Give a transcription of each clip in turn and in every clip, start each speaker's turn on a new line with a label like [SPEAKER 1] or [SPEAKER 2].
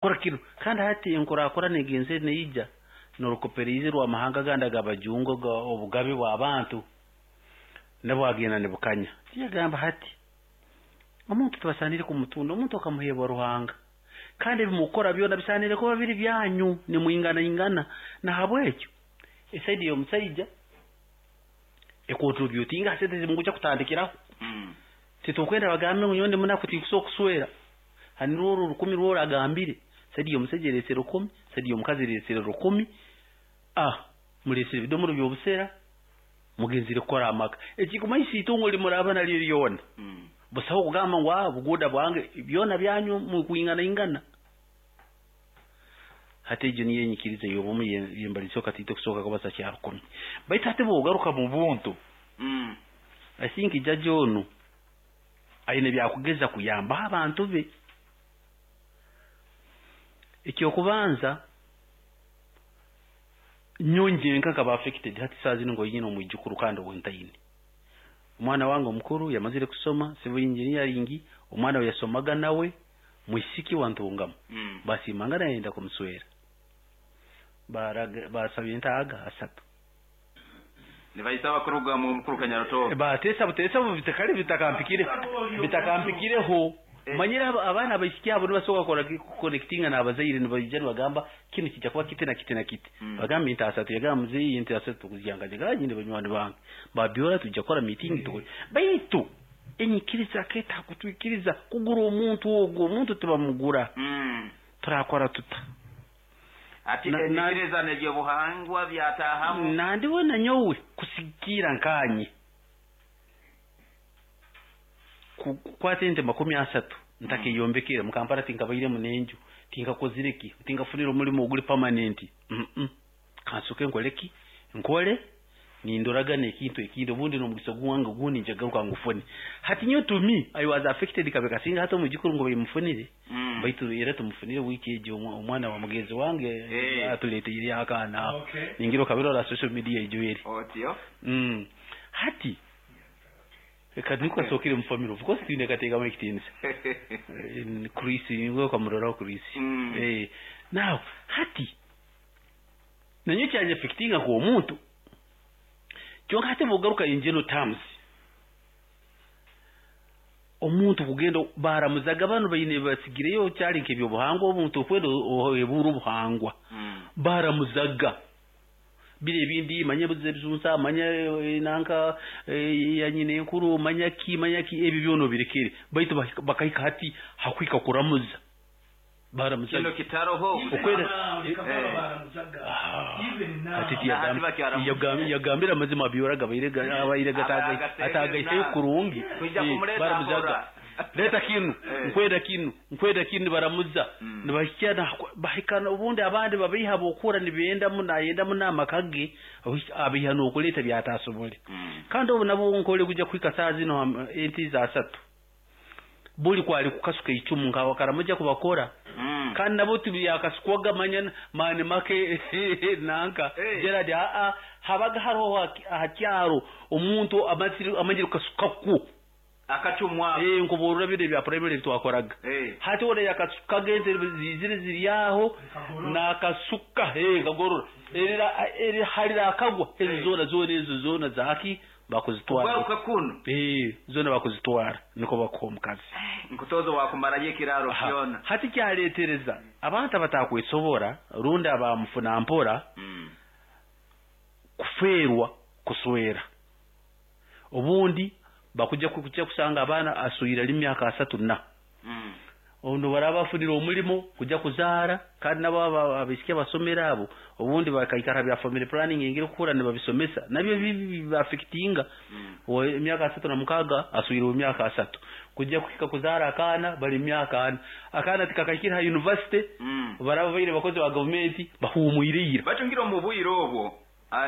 [SPEAKER 1] Kora kinu. Kandi hati enkurakurana egenzere neija n'orukoperaize rw'amahanga agandi ag'abajungu obugabe bw'abantu nabwo agenda nibukanya. Tiyagamba hati omuntu tibasaanire kumutunda, omuntu akamuheebwa Ruhanga. Kandi ebi mukukora byona bisaanire kuba biri byanyu nimwinganaingana. Nahabwekyo e side y'omusaija econtributinga ha sente ezimukujya kutandikiraho. Titukwenda bagambe ngu nyowe ndi munaku tinkusobola kuswera. Hani rworo 100 rworo agambire, side y'omusaija ereesere 1,000, side y'omukazi ereesere 1,000, mureesere ebidomoro by'obusera, mugenzire kukora amaka. Ekikumanyisa itungo rimuraba naryo ryona, busaho kugamba ngu buguuda bwange, byona byanyu mukwinganaingana. Hati egyo niyo enyikiriza ey'obumu yembalizeho katiito kusooka kubaza kya 1,000. Baitu hati bw'ogaruka mu buntu, I think jjaja onu aine byakugeza kuyambaho abantu be. Ekyokubanza, nyowe nyenka nkaba affected hati saaha zinu ngu nyine omwijukuru kandi ou ntaine. Omwana wange omukuru yamazire kusoma civil engineering, omwana ou yasomaga nawe mwisiki wa Ntungamo, basiimangana yayenda kumuswera. Basaba entaaga asatu.
[SPEAKER 2] Nibaisaba kuruga mu mukuru Kanyarutooro.
[SPEAKER 1] Bateesa buteesa kale bitakampikireho. Manyire abaana abaisiki abo nibasobola kukora connectinga n'abazaire nibaija nibagamba kinu kijja kuba kiti na kiti na kiti. Bagamba ente asatu, yagamba muzeeyi ente asatu tukuzya nkaje nyine banywani bange. Babyora tujja kukora meeting tukore. Baitu enyikiriza aketaaga kutwikiriza kugura omuntu ogwo, omuntu tibamugura. Turakora tuta?
[SPEAKER 2] Ati enyikiriza n'ebyobuhangwa byatahamu.
[SPEAKER 1] Nandiwe na nyowe kusigikiira nkanye kukwata ente 30 ntakeyombekere mu Kampala, tinkabairemu n'enju, tinkakozire ki, tinkafunire omurimo oguri permanent. Kansoke nkole ki, nkole nindoraga n'ekintu ekindi, obundi n'omugisa gwange ogundi njagaruka ngufune. Hati nyowe, to me, I was affected. Kabe kasinga hati omwijukuru ngu baimufunire, baitu era tumufunire wiiki egi, omwana wa mugenzi wange atuleteire akaana aho. Ningira okabirora social media ijwire.
[SPEAKER 2] Otyo.
[SPEAKER 1] Hati reka niko kasookere mu family, of course twine kateekamu ekitiinisa. Chris niwe okamuroraho Chris. Now hati nanyowe kyanya-affectinga nk'omuntu, kyonka hati bw'ogaruka in general terms, omuntu kugenda baramuzaga banu baine basigireyo kyali nk'ebyobuhangwa, omuntu okwenda ohebuura obuhangwa, baramuzaga biri ebindi, manya ebizunza, manya nanka ya nyina enkuru, manya ki, manya ki, ebyo byona obirekere, baitu bakahika hati hakuhika kuramuza, baramuzaga.
[SPEAKER 2] Kino kitaroho.
[SPEAKER 1] Okwera hati yagambire amazima abyoraga abaire atagaiseyo kurungi. Baramuzaga, leeta kinu, nkwenda kinu, nkwenda kinu, nibaramuza nibahikya bahika, obundi abandi babaiha bokura nibendamu nayenda muno amaka ge, abiha n'okuleeta byatasobole. Kandi obu nabwo nkole kujya kuhika saaha zino ente za asatu buli kwali kukasuka icumu nka Karamoja kubakora, kandi nabo tibyakasukwaga manya maani make nanka Gerard habaga hariho aha kyaro omuntu amanyire kukasukakwo
[SPEAKER 2] akacumwa.
[SPEAKER 1] Nkuburura bino ebya primary ebitwakoraga. Hati ona yakasukaga ente zizire ziri aho nakasuka, kagorora halirakagwa ezo zoona zoona ezo zoona zaki bakuzitwara.
[SPEAKER 2] Kugaruka kuno.
[SPEAKER 1] Zoona bakuzitwara niko bakuha omukazi.
[SPEAKER 2] Nkutozo wakumarayo ekiraro kyona.
[SPEAKER 1] Hati kyaletereza abantu abatakwesobora rundi abamufuna mpora kufeerwa kuswera. Obundi bakujja kujja kusanga abaana aswire ali myaka 34, obu baraba bafunire omurimo kujja kuzaara. Kandi nabo abaisiki abasomere abo obundi bakaikara bya family planning engeri kukura nibabisomesa nabyo biba-affectinga. Emyaka 36 aswire omu myaka 30, kujja kuhika kuzaara akaana bali myaka 40, akaana tikakahikire ha university, baraba baire bakozi ba gavumenti bahumwire ira.
[SPEAKER 2] Batungire omu bwire obwo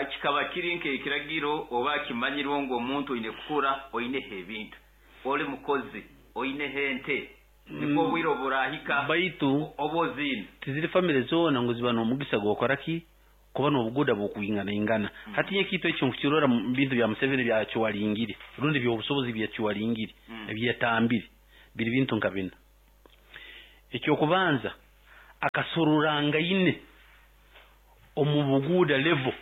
[SPEAKER 2] kikaba kiri nk'ekiragiro oba kimanyirwe ngu omuntu oine kukura oineho ebintu, oli mukozi, oineho ente, nibwo obwire oburahika
[SPEAKER 1] baitu
[SPEAKER 2] oba oziine.
[SPEAKER 1] Tiziri family zoona ngu ziba n'omugisa gw'okora ki, kuba n'obuguda bw'okwinganaingana. Hati ekintu ekyo nkukirora mu bintu bya Museveni byakiwaringire rundi by'obusobozi byakiwaringire ebyetambire biri bintu nka bina. Ekyokubanza, Akasororangaine omu buguuda level.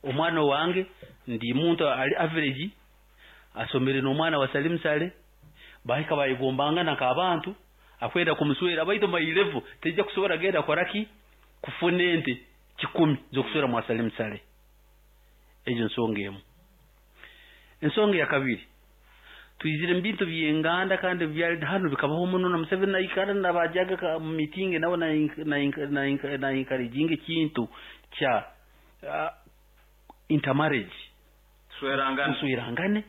[SPEAKER 1] Omwana owange ndi muntu ali average, asomere n'omwana wa Salim Saleh, bahika bayegombangana nk'abantu, akwenda kumuswera, baitu my level teija kusobora genda kukora ki? Kufuna ente 100 z'okuswera mwa Salim Saleh. Egyo nsonga emu. Ensonga ya kabiri, twizire mu bintu by'enganda kandi byali hanu bikabaho muno na Museveni naikara nabajaga mu mitingi nawe na encouraging ekintu kya intermarriage.
[SPEAKER 2] Tuswerangane.
[SPEAKER 1] Muswerangane.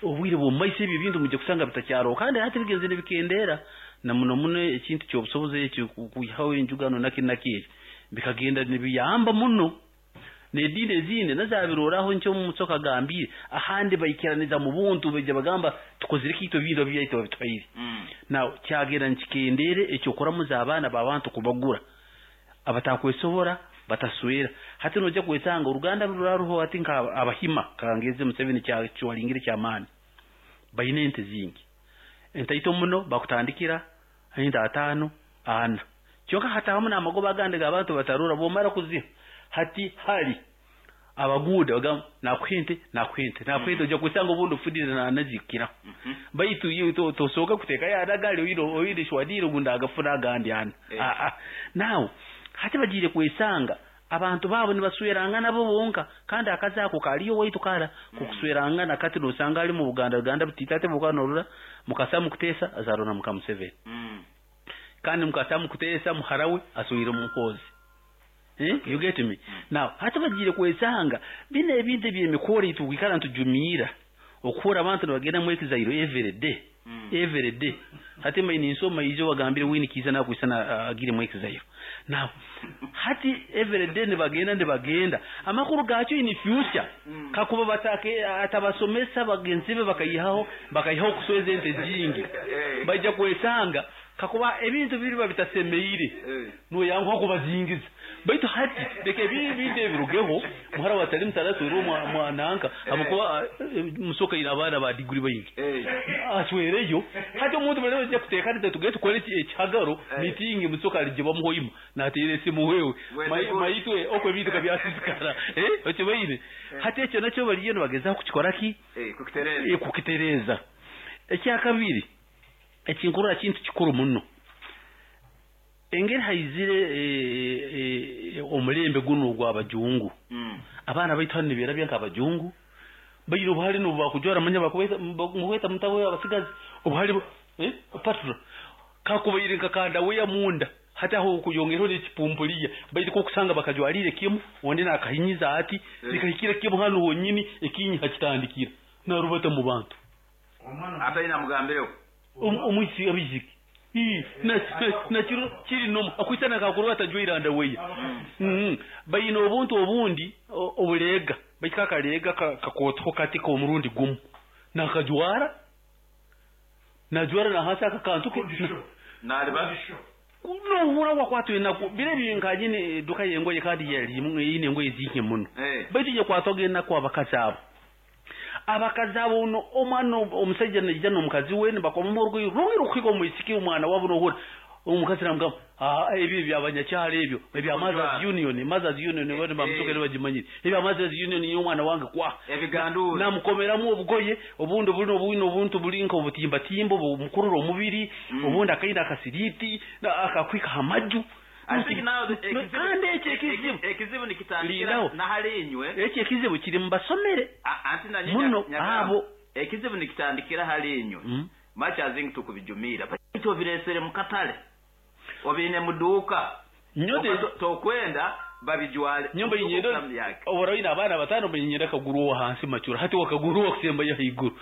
[SPEAKER 1] Obwire bw'omu maiso ebyo ebintu mwija kusanga bitakyaroho kandi hati bigenzire nibikendeera na muno muno ekintu ky'obusobozi ekyo kwihaho enjugano naki naki ekyo bikagenda nibiyamba muno. N'ediini ezindi nazo zabiroraho nkyo Musoke agambire, ahandi baikiraniza mu buntu baija bagamba tukozire ki itwe ebintu ebyaitu babituhaire. Now kyagenda nikikendeera eky'okuramuza abaana b'abantu kubagura abatakwesobora bataswera. Hati noija kwesanga oruganda ruraruho hati nka Abahima kangeze Museveni kyaringire ky'amaani baine ente zingi. Entaito muno bakutandikira ente 5, 4. Kyonka hatahamu n'amagoba agandi g'abantu batarora bwomara kuziha hati hali abaguuda bagamba nakuha ente nakuha ente nakuha ente ojja kwesanga obundi ofunire nazikiraho. Baitu iwe tosooka kuteekayo ana agali oine oine shwadiire ngu ndagafuna agandi ana. Aa now hati bagiire kwesanga abantu baabo nibaswerangana bo bonka kandi akazi ako kariyo owaitu kara k'okuswerangana kati nosanga ali mu Buganda Uganda butiita ati bwokuba norora mukasa mukuteesa azaarwa na muka Museveni. Kandi mukasa mukuteesa muhara we aswire Muhoozi. You get me? Now hati bagiire kwesanga binu ebintu eby'emikoro ei tukwikara nitujumiira okuhurra abantu nibagenda mu exile every day every day. Hati mbaire ninsoma ijo bagambire Winnie Kiiza nakwisana agiire mu exile. Now hati every day nibagenda nibagenda amakuru gakyo in future kakuba batake atabasomesa bagenzi be bakaihaho bakaihaho kusweza ente zingi baija kwesanga kakuba ebintu biriba bitasemeire noyanguha kubazingiza. Baitu hati leka ebintu ebirugeho muhara wa Salim Saleh aswere mwananka habwokuba Musoke aine abaana ba diguri baingi aswereyo. Hati omuntu bali baija kuteekaniza tugende tukore ekihagaro mitingi Musoke aligibamu hoima nateera esimu wewe maitwe okwo ebintu kabyasisikara okibaire. Hati ekyo nakyo bariyo nibagezaho kukikora ki? Kukitereeza. Ekyakabiri ekinkurora kintu kikuru muno, engeri haizire omulembe gunu ogw'abajungu, abaana baitu hanu nibeerabya nk'abajungu, baine obuhare n'obu bakujwara manya bakuhweta mutaho abasigazi obuhare patra kakubaire nka kandaweya munda hati aho okuyongeraho n'ekipumpuliya baitu kokusanga bakajwariire kimu ondi nakahinyiza ati nikahikira kimu hanu honyini ekinyi hakitandikira narubata mu bantu.
[SPEAKER 2] Ataine amugambireho.
[SPEAKER 1] Omwisi abaisiki nakiro kiri nomu akwisana kakuruba atajwaire andaweya. Baine obuntu obundi obuleega baitu akaleega kakootoho kati k'omurundi gumu nakajwara najwara nahansi aka kantu ke
[SPEAKER 2] naliba
[SPEAKER 1] nohura wakwatwa enaku biro ebi nkanyine eduka y'engoye kandi yalimu eine engoye zinke muno baitu yakwatwaga enaku abakazi abo. Abakazi abo ono omwana omusaija naija n'omukazi we nibakomamu orugoye rungi rukuhika omwisiki omwana wabo nohura omukazi namugamba ebyo ebyabanyakyaro ebyo ebya Mothers Union Mothers Union bano bamusoke nibagimanyire ebya Mothers Union niyo omwana wange kwa
[SPEAKER 2] ebiganduura
[SPEAKER 1] namukomeramu obugoye obundi buli obundi obuntu buli nka obutimbatimba obumukurura omubiri obundi akaine akasiriti akakwika ha maju. Kandi ekyo ekizibu
[SPEAKER 2] ekizibu nikitandikira nahali inywe
[SPEAKER 1] ekyo ekizibu kiri mubasomere muno abo
[SPEAKER 2] ekizibu nikitandikira hali inywe much as think tukubijumira baitu obiresere mukatale obine muduuka tokwenda babijwale
[SPEAKER 1] nyumba yinyenda obora abaana batano bayinyenda kaguru hansi macura hati wakaguru wakusemba haiguru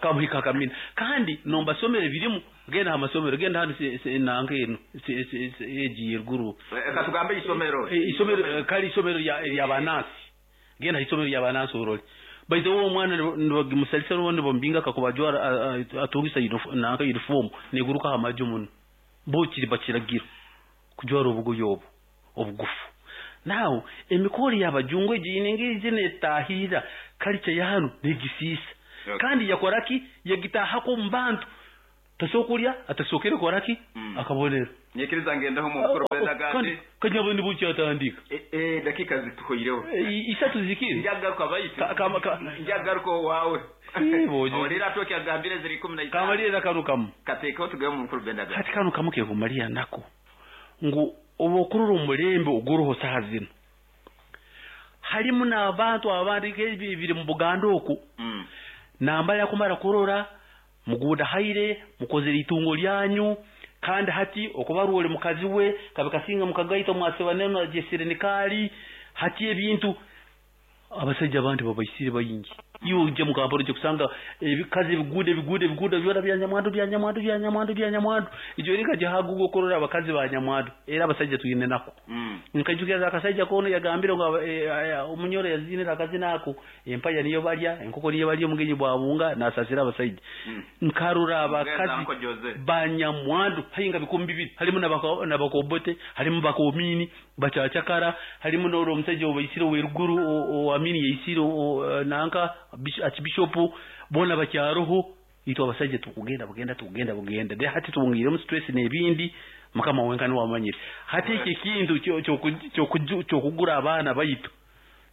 [SPEAKER 1] kamuhika kamina kandi nombasomere birimu genda amasomero genda hano nanka eno egiye ruguru
[SPEAKER 2] katugambe isomero
[SPEAKER 1] isomero kali isomero lya banansi genda isomero lya banansi orole baitu uwo omwana nibagimusalisa n'obundi bamumbinga akakubajwara atungisa nanka uniform neguruka aha maju muno bo kiri bakiragira kujwara obugoye obu obugufu. Now emikoro y'abajungu egi engeri netahirira kalicha ya hanu negisiisa kandi yakoraki yagitahako omu bantu tasokulya atasokere koraki akabonero.
[SPEAKER 2] Nyikiriza ngendeho mu mukuru
[SPEAKER 1] Kandi kanyabo nibukyatandika.
[SPEAKER 2] Dakika zituhoireho.
[SPEAKER 1] Isatu zikiri.
[SPEAKER 2] Njagaruka baitu. Njagaruka wawe. Olira toki agambire ziri 15.
[SPEAKER 1] Kamalira kanu kamu.
[SPEAKER 2] Katekeho tugaye mu mukuru Bendaga.
[SPEAKER 1] Hati kanu kamu ke kumalira nako. Ngu obokurura omulembe oguruho saha zino. Harimu n'abantu abandi biri mu Buganda oku. Namba yakumara kurora muguda haire mukozere itungo lyanyu kandi hati okubarwole mukazi we kabikasinga mukagaita mwaseba neno jesire nikali hati ebintu abasajja abantu babaisire bayingi iwe uje mukamporo je kusanga ebikazi ebigude ebigude ebigude byona bya nyamwandu bya nyamwandu bya nyamwandu bya nyamwandu ijo rika jahagugo korora abakazi ba nyamwandu era abasajja tuyine nako. Nkajukira akasajja kono yagambire ngo omunyoro yazinira akazi nako empaya niyo balya enkoko niyo balya omugenyi bwabunga nasasira abasajja. Nkarura abakazi banyamwandu hayinga bikumbi bibiri harimu nabakobote harimu bakomini bachachakara harimu n'oro omusajja obaisire weruguru o amini yaisire nanka archbishop bona bakyaroho itwa abasajja tukugenda bugenda tukugenda bugenda de hati tubungire mu stress n'ebindi mukama wenka ni wamanyire hati iki kintu cyo kugura abana baitu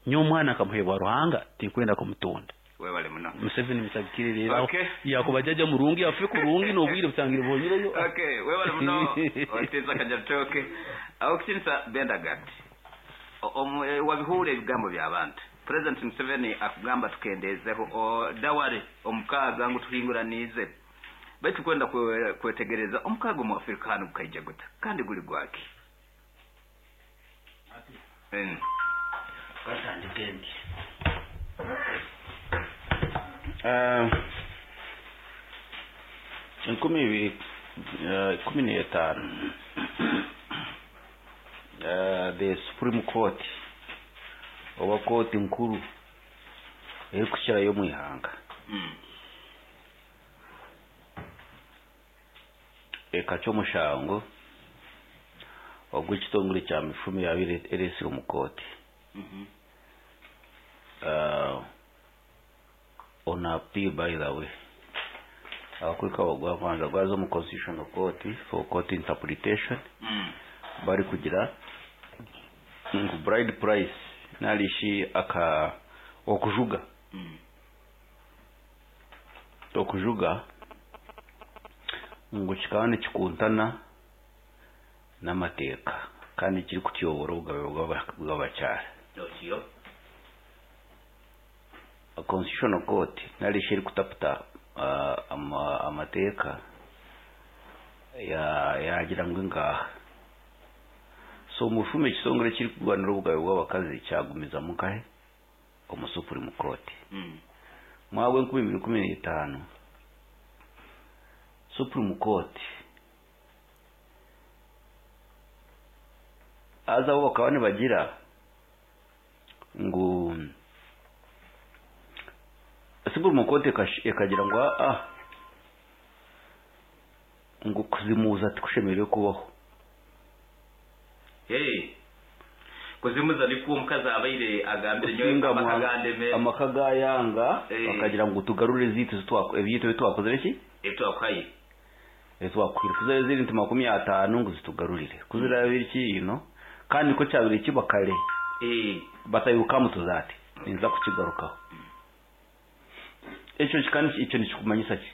[SPEAKER 1] nyomwana akamuhebwa Ruhanga tinkwenda kumutonda.
[SPEAKER 2] Webale muno.
[SPEAKER 1] Museveni musabikire rero yakubajaja murungi afe kurungi nobwire busangire bonyireyo.
[SPEAKER 2] Okay, webale muno oteza kajatoke aho kinsa Bendagat wabihure ebigambo by'abantu. President Museveni akugamba tukendezeho daware omukaga ngu tuhinguranize baitu kwenda kwetegereza omukaga mu Afrika hano gukaija guta kandi guli gwaki.
[SPEAKER 3] Katandike ndi 2015 the Supreme Court oba kooti nkuru erikukirayo omu ihanga ekacwa omushango ogw'ekitongore kya mifumo yabaire eresire omu kooti on appeal by the way abakwika gwabanza gwaza omu constitutional court for court interpretation bari kugira ngu bride price narishi aka okujuga okujuga ngu kikaba nikikuntana n'amateeka kandi kiri kutyobora obugabe bw'abakyara. Constitutional court narishi eri kutaputa amateeka yagira ngu ngaha so mufume ekitongore kiri kurwanira obugabe bw'abakazi kyagumizamu nkahe omu Supreme Court. Mwaka 2015 Supreme Court aza bo bakaba nibagira ngu Supreme Court ekagira ngu ngu kuzimuza tikushemereire kubaho.
[SPEAKER 2] Kuzimuza nikuwo omukazi abaire agambire nyowe amakagandeme
[SPEAKER 3] amaka gayanga bakagira ngu tugarure zitu ebyitu bitwakozere ki
[SPEAKER 2] etwakwaye
[SPEAKER 3] etwakwira kuzere ziri nti 50 ngu zitugarurire kuzira biri ino kandi ko cyabire kibakare batayuka mutuzate ninza kukigarukaho. Ekyo kikandi icyo nikikumanyisa ki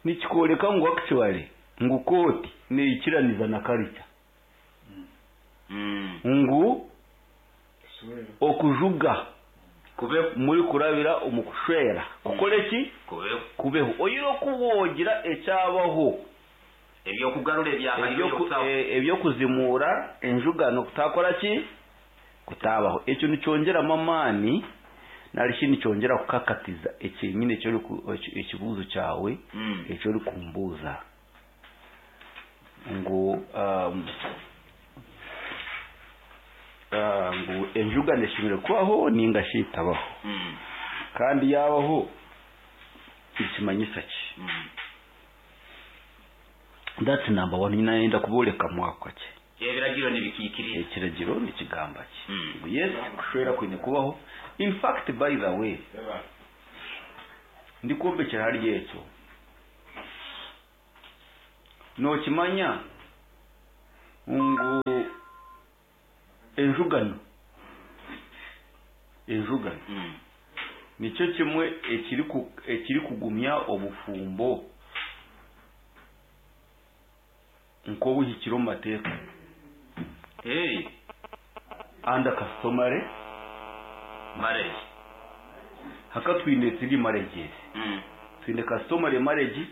[SPEAKER 3] nikikoreka ngu actually ngu kooti neikiraniza na culture ngu okujuga
[SPEAKER 2] kube
[SPEAKER 3] muri kurabira omukushwera kukole ki kubeho oyiro kubogira ekyabaho
[SPEAKER 2] ebyokugarura
[SPEAKER 3] ebyokuzimura enjugano kutakora ki kutabaho. Ekyo nicyongera amani narishi nicyongera kukakatiza ekinyine cyo ekibuzo cyawe ekyo uri kumbuza ngu ngu enjugano eshimire kubaho ninga shitabaho kandi yabaho ikimanyisa ki. That's number 1. Ninaenda kuboleka mwaka ki
[SPEAKER 2] ebiragiro nibikikiriza
[SPEAKER 3] ekiragiro nikigamba ki yes kushwera kwine kubaho. In fact by the way ndikumbekera hari ekyo nokimanya Ngu enjugano enjugano nikyo kimwe ekirikugumya obufumbo nk'obuhikire omu mateeka.
[SPEAKER 2] Hey.
[SPEAKER 3] Under customary
[SPEAKER 2] marriage.
[SPEAKER 3] Haka twine three marriages. Twine customary marriage,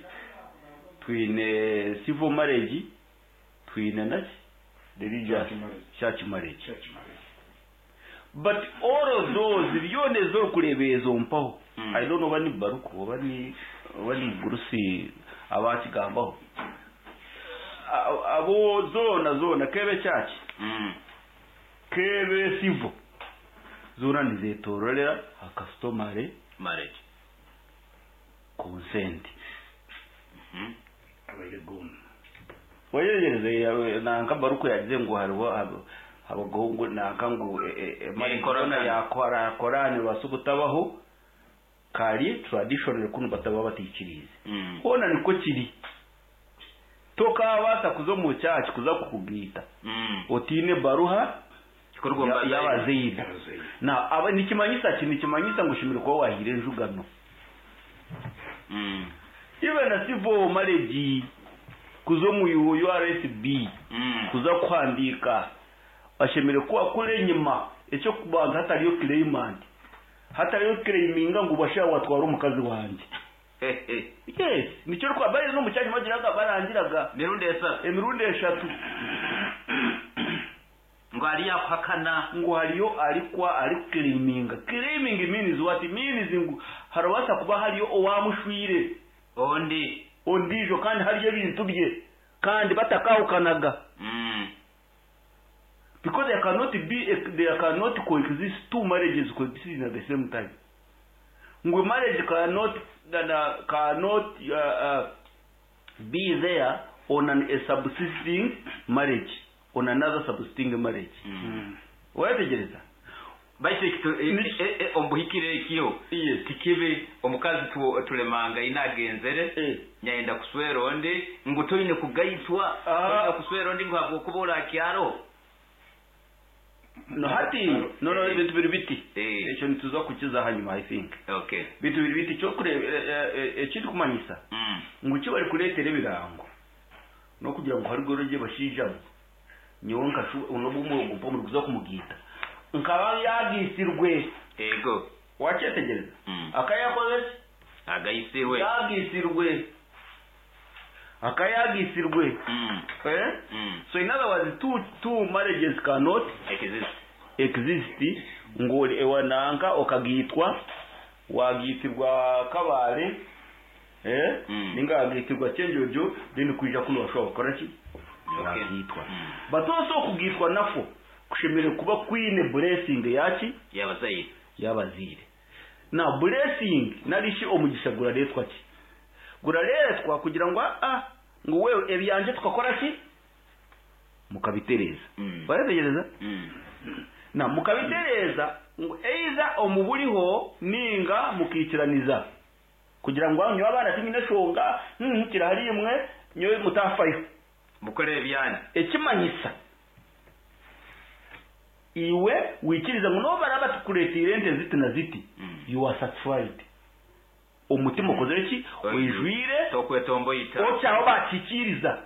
[SPEAKER 3] twine civil marriage, twine naki? Religious church marriage.
[SPEAKER 4] Church marriage.
[SPEAKER 3] But all of those byona ez'okureeba ezo mpaho. I don't know oba ni Baruku oba ni oba ni Mugurusi abakigambaho. Abo zoona zoona kebe church. Kebe civil. Zoona nizetororera ha customary
[SPEAKER 2] marriage.
[SPEAKER 3] Consent.
[SPEAKER 4] Abaire goona.
[SPEAKER 3] Wayegereze nanka Baruku yagize ngu hariho abagabo nanka ngu
[SPEAKER 2] Korani.
[SPEAKER 3] Yakora Korani basubutabaho kari traditional kunu bataba batikirize. Hona niko kiri. Tokabasa kuza mu church kuza kukugita. Otine baruha
[SPEAKER 2] Kikorwa
[SPEAKER 3] y'abazeire.
[SPEAKER 4] Y'abazeire.
[SPEAKER 3] Na aba nikimanyisa ki? Nikimanyisa ngu shimire kuba wahire enjugano. Even na civil marriage kuza mu URSB kuza kuhandika bashemere kuba kure enyima ekyo kubanza hatariyo claimant, hatariyo claiminga ngu basha watwara omukazi wanje. Yes, nicyo rwa bari no mucyanya bagiraga barangiraga
[SPEAKER 2] Mirundi 3.
[SPEAKER 3] Emirundi 3.
[SPEAKER 2] Ngo ari yakwakana.
[SPEAKER 3] Ngo hariyo arikwa ari claiminga. Claiming means what? Means ngo harabasa kuba hariyo owamushwire
[SPEAKER 2] ondi
[SPEAKER 3] ondijo kandi hariyo ebintu bye kandi batakahukanaga. Because there cannot be there cannot coexist two marriages coexisting at the same time. Ngo marriage cannot be there on a subsisting marriage, on another subsisting marriage. Wetegereza.
[SPEAKER 2] Baite kitu ombuhikire ekyo.
[SPEAKER 3] Yes.
[SPEAKER 2] Tikibe omukazi tulemanga inagenzere. Nyaenda kuswera onde ngu toine kugaitwa, toine kuswera onde ngu habwokuba kyaro.
[SPEAKER 3] No hati no bintu biri biti. Ekyo nituza kukiza hanyuma I think.
[SPEAKER 2] Okay.
[SPEAKER 3] Bintu biri biti cyo kure ekindi kumanyisa. Ngu cyo bari kuretera ebirango. No kugira ngo hari goroje bashijamo. Nyewe nkashu unobu mwo muri kuza kumugita. Nkaba yagisirwe.
[SPEAKER 2] Ego.
[SPEAKER 3] Wachetegereza. Akayakoze?
[SPEAKER 2] Agayisirwe.
[SPEAKER 3] Yagisirwe. Akayagisirwe. So in other words, two marriages cannot
[SPEAKER 2] exist.
[SPEAKER 3] Exist. Ngo ewananga okagitwa wagitirwa kabare ninga agitirwa cyenjojo then kuija kuno bashobora gukora ki? Wagitwa. But also kugitwa nafo kushemere kuba kwine blessing yaki
[SPEAKER 2] y'abazire.
[SPEAKER 3] Y'abazire. Na blessing narishi omugisha guraretwa ki? Guraretwa kugira ngo ngo wewe ebyanje tukakora ki? Mukabitereza. Barategereza? Na mukabitereza ngo eiza omuburiho ninga mukikiraniza kugira ngo anyu abana tinyine shonga kirahari imwe nyowe mutafayo
[SPEAKER 2] mukore ebyanje
[SPEAKER 3] ekimanyisa iwe wikiriza ngo no baraba tukuretire ente ziti na ziti. You are satisfied. Omutima ukoze iki? Wijwire
[SPEAKER 2] tokwetombo ita
[SPEAKER 3] ochaho bakikiriza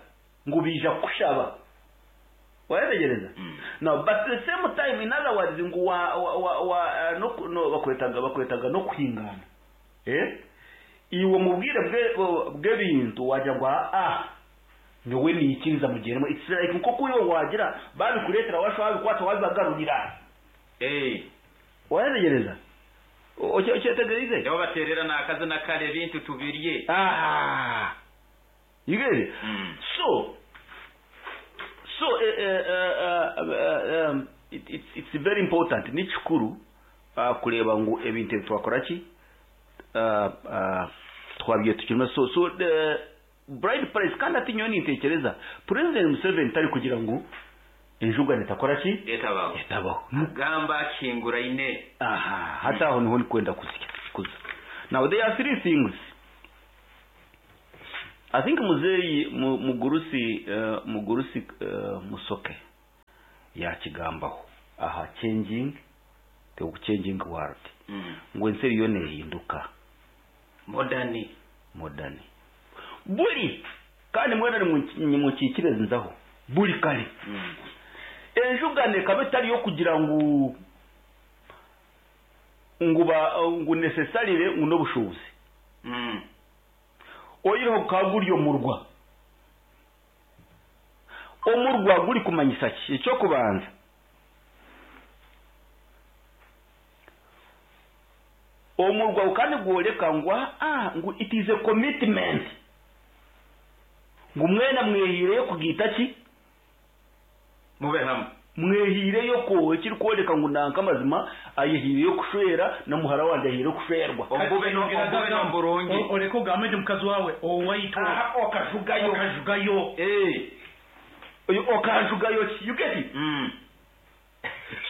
[SPEAKER 3] ngo bija kushaba. Wayetegereza? Now but the same time in other words ngo wa wa no bakwetaga no kwingana. Iwe mubwire bwe bintu wajya ngo nyowe nikiriza mugeremo. It's like nko kuyo wagira babikuretera washo babikwata wabibagarurira. Wayetegereza? Ochetegereze?
[SPEAKER 2] Yo baterera nakaze nakare bintu tubirye.
[SPEAKER 3] You get it? So it's very important nikikuru kureba ngo ebintu twakora ki twabye tukirimo. So the bride price kandi ati nyoni ntekereza President Museveni tari kugira ngo enjugane takora ki etabaho
[SPEAKER 2] gamba kingura ine.
[SPEAKER 3] Aha hata aho niho kwenda kuza. Now there are three things. I think muzeeyi mugurusi mugurusi Musoke yakigambaho aha changing the changing world. Ngu ensi eriyo neehinduka.
[SPEAKER 2] Modern.
[SPEAKER 3] Modern. Buri kandi mwena nimukikirize nzaho buri kare. Enjugano ekaba etari y'okugira ngu ngu necessarily ngu n'obushuubuzi. Oyireho gukaba guri omurwa. Omurwa guri kumanyisa ki? Ekyokubanza, omurwa gukaba nigworeka ngu ngu it is a commitment. Ngu mwena mwehiireyo kugiita ki?
[SPEAKER 2] Mube hamwe.
[SPEAKER 3] Mwehiireyo ko ekirikworeka ngu nanka amazima ayehiireyo kushwera na muhara wangye ahiireyo kushwerwa.
[SPEAKER 2] Obube n'oburungi.
[SPEAKER 1] Oreka ogambe nti mukazi wawe owaitu.
[SPEAKER 3] Okajugayo.
[SPEAKER 1] Okajugayo.
[SPEAKER 3] Okajugayo ki? You get it?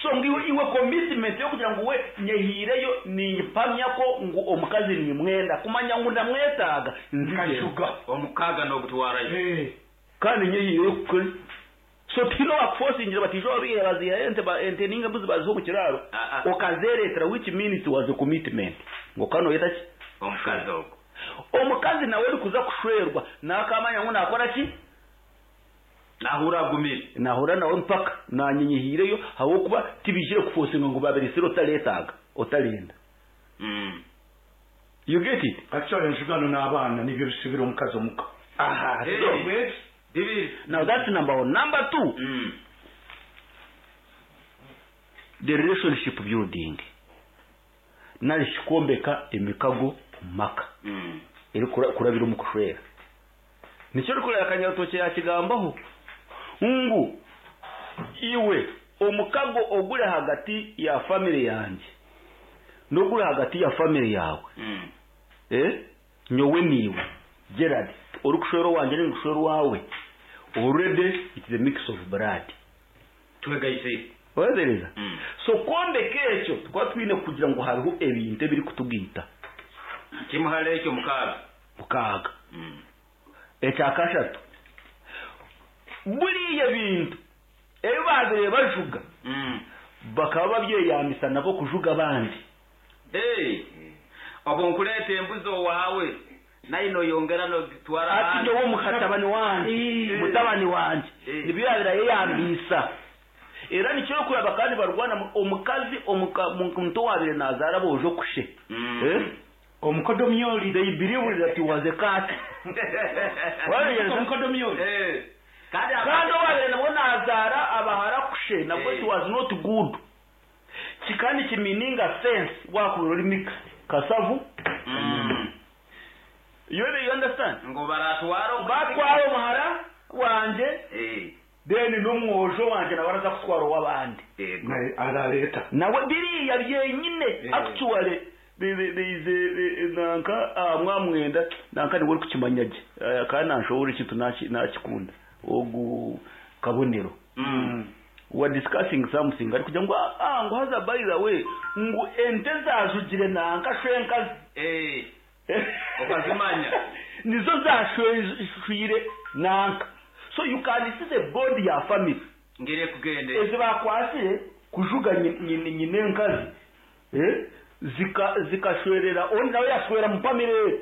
[SPEAKER 3] So ngu iwe commitment yokugira ngu we nyehiireyo nimpamya ko ngu omukazi nimwenda kumanya ngu ndamwetaaga
[SPEAKER 1] nkajuga.
[SPEAKER 2] Omukaga n'ogutwarayo.
[SPEAKER 3] Kandi nyehiireyo kukora. So tihine owakufosingira bati ijo wabihe baziha ente ente ninga embuzi baziha omu kiraro okazereetera, which means it was a commitment ngu okaba noyeta ki?
[SPEAKER 2] Omukazi ogwo.
[SPEAKER 3] Omukazi nawe orikuza kushwerwa nakamanya ngu nakora ki?
[SPEAKER 2] Nahura agumire.
[SPEAKER 3] Nahura nawe mpaka nanye nyehiireyo ahabw'okuba tibijire kufosinga ngu babiresire otareetaaga otarenda. You get it?
[SPEAKER 4] Actually enjugano n'abaana nibyo bisibira omukazi omuka.
[SPEAKER 3] Aha, so now that's number one. Number two, the relationship building. Nari kwombeka emikago omu maka. Eri kurabira omu kushwera. Nikyo orikureba Kanyarutookye yakigambaho ngu iwe omukago oguri hagati ya family yangye n'oguri hagati ya family yawe. Nyowe niiwe Gerard orikushwera owangye ninkushwera owawe, already it is a mix of blood.
[SPEAKER 2] Twegaise.
[SPEAKER 3] Webereza. So kwombeka ekyo tukaba twine kugira ngu hariho ebintu ebirikutugiita.
[SPEAKER 2] Kimuhare ekyo mukaaga.
[SPEAKER 3] Mukaaga. Ekyakashatu, buriya bintu ebi babire bajuga bakaba babyeyambisa nabo kujuga abandi.
[SPEAKER 2] Obwo nkureeta embuzi owawe naye noyongera nogitwara
[SPEAKER 3] ati nyowe mukatabani wangye mutabani wangye nibyo yabire ayeyambisa. Era nikyo kuraba kandi barwana omukazi omuntu owabire nazaara bojo kushe.
[SPEAKER 4] Omukodomyoli.
[SPEAKER 3] They believe that he was a cat.
[SPEAKER 4] Omukodomyoli.
[SPEAKER 3] Kandi owabire nabwo nazaara abahara kushe nabwo it was not good. Kikandi kimininga sense wakubira ori mix kasavu. You understand?
[SPEAKER 2] Ngo baratwara
[SPEAKER 3] batwara omuhara wanje. Then n'omwojo wanje nawe araza kutwara ow'abandi.
[SPEAKER 4] Arareta.
[SPEAKER 3] Nawe biriya byenyine actually nanka mwamwenda nanka niwe orikukimanya gye kandi nanshobora ekintu nakikunda ogu kabonero. We are discussing something ari kugira ngu ngu haza by the way ngu ente zajugire nanka shwenkazi.
[SPEAKER 2] Okazimanya.
[SPEAKER 3] Nizo zashwire nanka. So you can see the body ya family.
[SPEAKER 2] Ngire kugende.
[SPEAKER 3] Ezi bakwasire kujuga nyine enkazi. Zikashwerera ondi nawe yashwera mu family.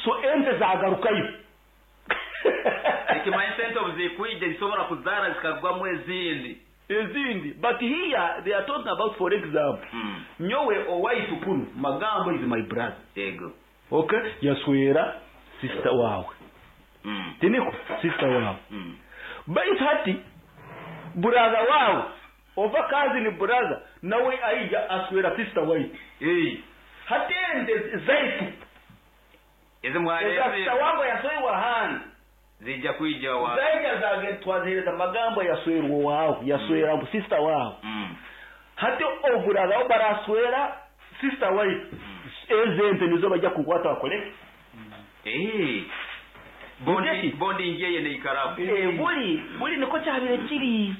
[SPEAKER 3] So ente zagarukayo.
[SPEAKER 2] Ekimanyisa ente obuzikwije zisobora kuzaara zikagwamu ezindi.
[SPEAKER 3] Ezindi. But here they are talking about, for example, nyowe owaitu kunu Magambo is my brother.
[SPEAKER 2] Yego.
[SPEAKER 3] Okay? Yaswera sister wawe. Tiniko sister wawe. Baitu hati brother wawe ova cousin brother nawe aija aswera sister waitu. Hati ente zaitu.
[SPEAKER 2] Ezi mwale.
[SPEAKER 3] Sister wangu yaswewa handi.
[SPEAKER 2] Zija kuija wa.
[SPEAKER 3] Zaija zage twazihereza Magambo yaswerwa wawe, yaswera sister wawe. Hati oburaza baraswera sister waitu. Ezente nizo bajya kukwata bakore.
[SPEAKER 2] Bondi ngiye neikarabu.
[SPEAKER 3] Buri niko cyabire kiri.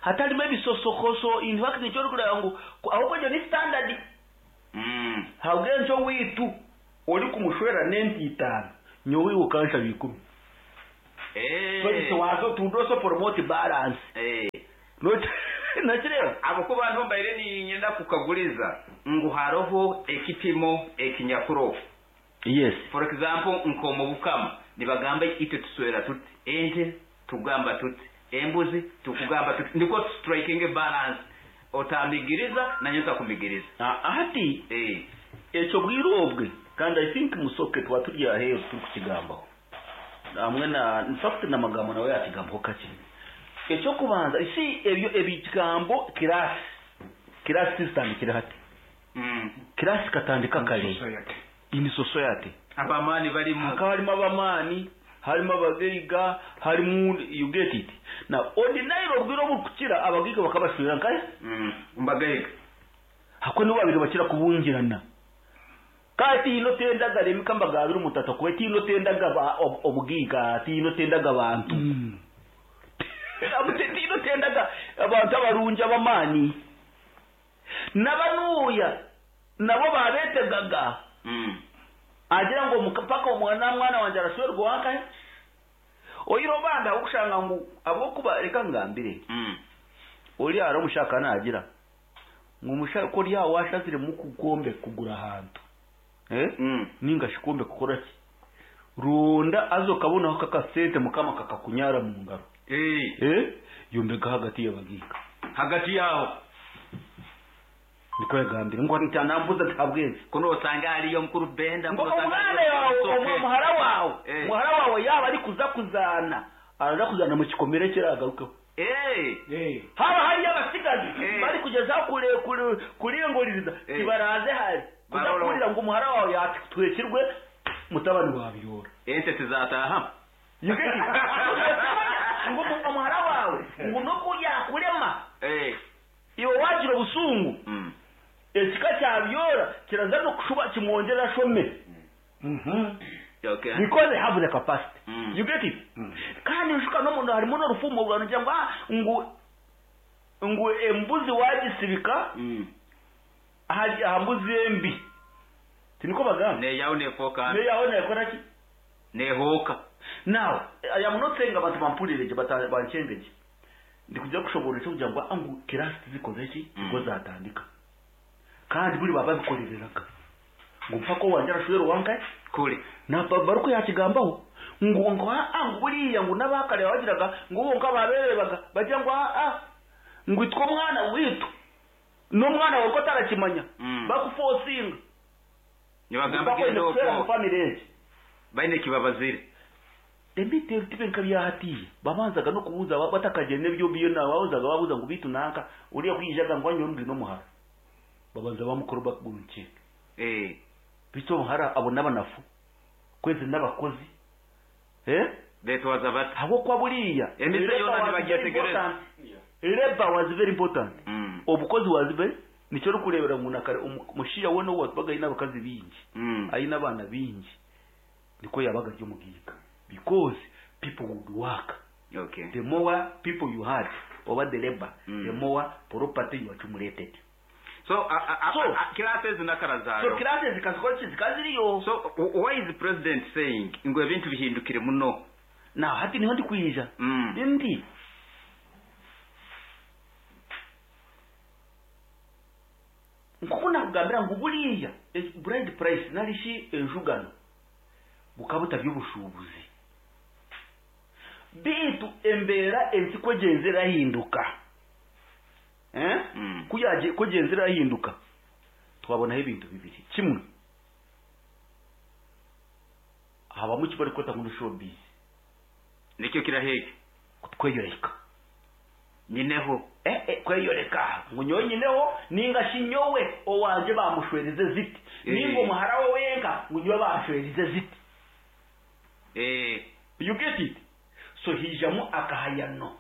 [SPEAKER 3] Hatarimo ebisosokoso in fact nicyo kureba ngu ahubwo ni standard. Habwenjo witu ori kumushwera nenti itanu.
[SPEAKER 1] Nyowe iwe okanshaba 10. So waza tundoso promote balance. Nakireba
[SPEAKER 2] abo ku bantu mbaire ninyenda kukaguriza ngu haroho ekipimo ekinyakuro.
[SPEAKER 1] Yes.
[SPEAKER 2] For example, nkomu bukama nibagamba itwe tuswera tuti ente tugamba tuti embuzi tukugamba tuti, niko striking balance, otamigiriza nanyo ntakumigiriza.
[SPEAKER 1] Hati ekyo bwire obwe, kandi I think musoke tuba turi aheeru turi kukigambaho hamwe na in fact n'amagambo nawe yakigambaho kakye. Ekyokubanza si ebyo ebigambo class zitandikire hati. Class katandika kare in society.
[SPEAKER 2] Abamani barimu,
[SPEAKER 1] hakaba harimo abamani, harimo abagaiga, harimo, you get it. Now ordinary obwire obukukira abagaiga bakabashwera nkaye
[SPEAKER 2] mbagaiga
[SPEAKER 1] hako nibo babiri bakira kubungirana. Kati ino tendaga remika mbagabira umutata kuwe tino tendaga obugiga, tino tendaga abantu. Tino tendaga abantu abarungi abamani n'abanuya nabo babetegaga. Agira ngo mukapaka omwana mwana wanje arashwerwa wankaye oyiro banda okushanga ngu abokuba reka ngambire. Oli ara omushaka nagira ngu mushaka ko rya washazire mu kugombe kugura ahantu. Ninga shikombe kukora ki runda azo kabonaho kakasente mukama kakakunyara mu ngaro. Yombeka hagati y'abagika
[SPEAKER 2] hagati yaho
[SPEAKER 1] niko yagambire ngo ntanambuza ntabwezi
[SPEAKER 2] kuno usanga ariyo mukuru Benda
[SPEAKER 1] ngo umwana yawe umuhara wawe muhara wawe yaba ari kuza kuzana araza kuzana mu kikomere kiragarukeho. Haba hari abasigazi bari kugeza kure kurengoririza kibaraze hari kuzakurira ngo umuhara wawe yatwekirwe mutabani wabyora
[SPEAKER 2] ente tizataha
[SPEAKER 1] ngo umuhara wawe ngo nuko yakurema iwe wagira obusungu ekika kyabyora kiraza no kushuba kimwongera shome.
[SPEAKER 2] Okay.
[SPEAKER 1] Because they have the capacity. You get it? Kandi nshuka no muntu harimo n'urufumo rwanjye ngo ngo ngo embuzi wagisibika aha mbuzi embi tiniko bagamba
[SPEAKER 2] ne yawo ne foka
[SPEAKER 1] ne yawo ne kora ki
[SPEAKER 2] ne hoka.
[SPEAKER 1] Now I am not saying abantu bampurireje banchengeje ndikujya kushobora cyo kugira ngo angu kirasi zikoze ki ngo zatandika kandi buri baba bikorereraga ngo mpaka wanje arashwero wankaye
[SPEAKER 2] kure
[SPEAKER 1] na baruko yakigambaho ngo ngo angu buriya ngo nabakare bagiraga ngo bo nkababerebaga bagira ngo a ngo itwo mwana witu no mwana wawe ko atarakimanya bakufosinga
[SPEAKER 2] nibagamba
[SPEAKER 1] ngo family
[SPEAKER 2] baine kibabazire
[SPEAKER 1] embite tibe nkabyahatiye babanzaga no kubuza batakagene byo biyo na babuzaga babuza ngo bitu nanka uriya kwijaga ngo anyondwe no muhara babanza bamukuru bakubunke bito muhara abo nabanafu kwezi n'abakozi
[SPEAKER 2] betwaza bata
[SPEAKER 1] abo kwa buriya
[SPEAKER 2] emise yona nibagetegereza
[SPEAKER 1] labor was very important. Obukozi was very nicyo rukurebera umuntu kare umushiya we no wabaga ina abakazi bingi ayina abana bingi niko yabaga ryo mugiga because people would work.
[SPEAKER 2] Okay.
[SPEAKER 1] The more people you had over the labor, the more property you accumulated.
[SPEAKER 2] So classes nakarazayo.
[SPEAKER 1] So classes zikazikora zikaziriyo.
[SPEAKER 2] So why is the president saying ngo ebintu bihindukire muno?
[SPEAKER 1] Now hati niho ndi kwija. Ndi nkuko nakugambira ngo buriya bride price narishi enjugano bukabuta by'ubushubuzi bitu embera ensi kwegenzera hinduka kuyaje kwegenzera hinduka twabonaho ibintu bibiri kimwe habamu kibari kota ngo showbiz
[SPEAKER 2] nicyo kiraheke
[SPEAKER 1] kutweyoreka
[SPEAKER 2] nyineho
[SPEAKER 1] kweyoreka ngo nyonyineho ninga shinyowe owanje bamushwereze ziti ningo muhara we wenka ngo nyowe bamushwereze ziti you get it. So hijamu akahayano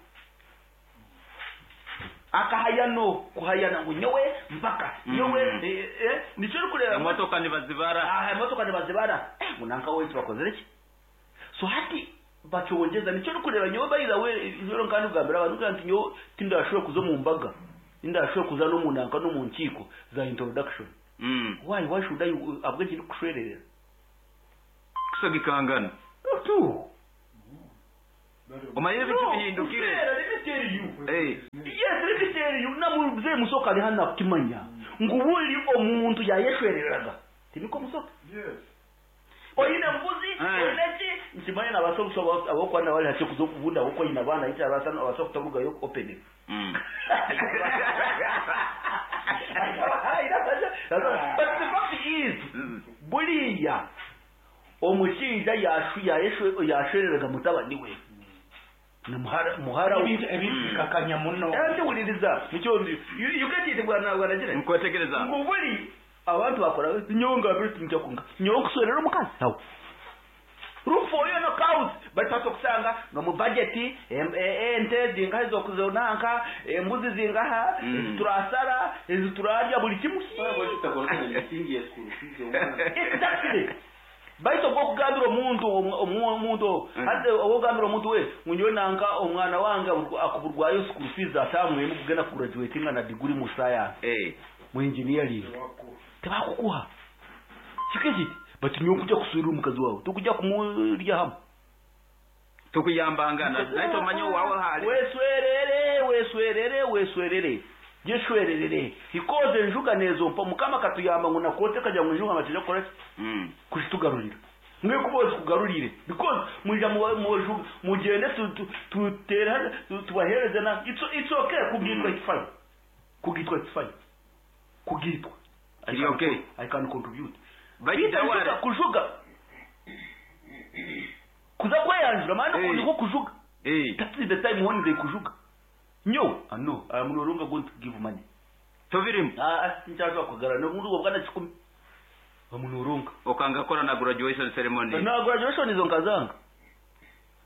[SPEAKER 1] akahayano kuhayana ngo nyowe mpaka nyowe nicyo rukureba
[SPEAKER 2] imotoka nibazibara
[SPEAKER 1] imotoka nibazibara ngo nanka wetu bakoze iki. So hati bacyongeza nicyo rukureba nyowe bayira we rero kandi ugambira abantu kandi nyowe tindashobora kuzo mu mbaga ndashobora kuza no mu nanka no mu nkiko za introduction. Why should I abwe kiri kushwererera?
[SPEAKER 2] Kusagikangana.
[SPEAKER 1] Tu.
[SPEAKER 2] Omanyire ebintu bihindukire.
[SPEAKER 1] Let me tell you.
[SPEAKER 2] Eh.
[SPEAKER 1] Yes, let me tell you. Namuze Musoke ali hano akukimanya. Ngu buli omuntu yayeshwereraga. Tiniko Musoke?
[SPEAKER 4] Yes.
[SPEAKER 1] Oyine mbuzi, oyine ki? Nkimanya nabasobola abokwana bali hati kuza okubunda kuko oyine abaana yita abasana abasobola kutabugayo open. But the fact is, buriya omushaija yashwereraga mutabani we na muhara we.
[SPEAKER 4] Ebintu bikakanya muno.
[SPEAKER 1] Ndiwuliriza nikyo ndi you get it bwana bwana
[SPEAKER 2] Nkwetegereza.
[SPEAKER 1] Ngo buri abantu bakora nyowe ngabire tinjya kunga nyowe kuswerera omukazi awo rufoyo no cows batatu okusanga nga mu budget ente zingaha ezokuzonanka embuzi zingaha, ezi turasara, ezi turarya, buli kimu. Exactly. Baitu ogwokugambira omuntu omuntu hati ogwokugambira omuntu we ngu nyowe nanka omwana wange akuburwayo school fees atamwemu kugenda kugraduatinga na degree mu science, mu engineering, tebakukuha kike kiti. But nyowe kujja kuswirira omukazi wawe, tukujja kumurya hamwe.
[SPEAKER 2] Tukuyambangana naye tomanya owawe hali.
[SPEAKER 1] Weswerere, weswerere, weswerere, gishwererere ikoze enjuga nezo mpa Mukama katuyamba ngu nakote kajya mu njuga matija kukora ki? Kuzitugarurira mwe kuboza kugarurire because mwija mu mugende tutere tubahereze na it's okay kugitwa, it's fine kugitwa, it's fine kugitwa.
[SPEAKER 2] Kiri okay.
[SPEAKER 1] I can contribute.
[SPEAKER 2] Bayita
[SPEAKER 1] Bita
[SPEAKER 2] wale.
[SPEAKER 1] Kujuga kuza kweyanjura maana niko kujuga. That is the time when they kujuga. Nyo, ah no, I am no longer going to give money.
[SPEAKER 2] Tobirimu.
[SPEAKER 1] Ah, nchaza kugara no mundu bwana 10. Bamunoronga.
[SPEAKER 2] Okanga kora na graduation ceremony.
[SPEAKER 1] Na graduation izo nkazanga.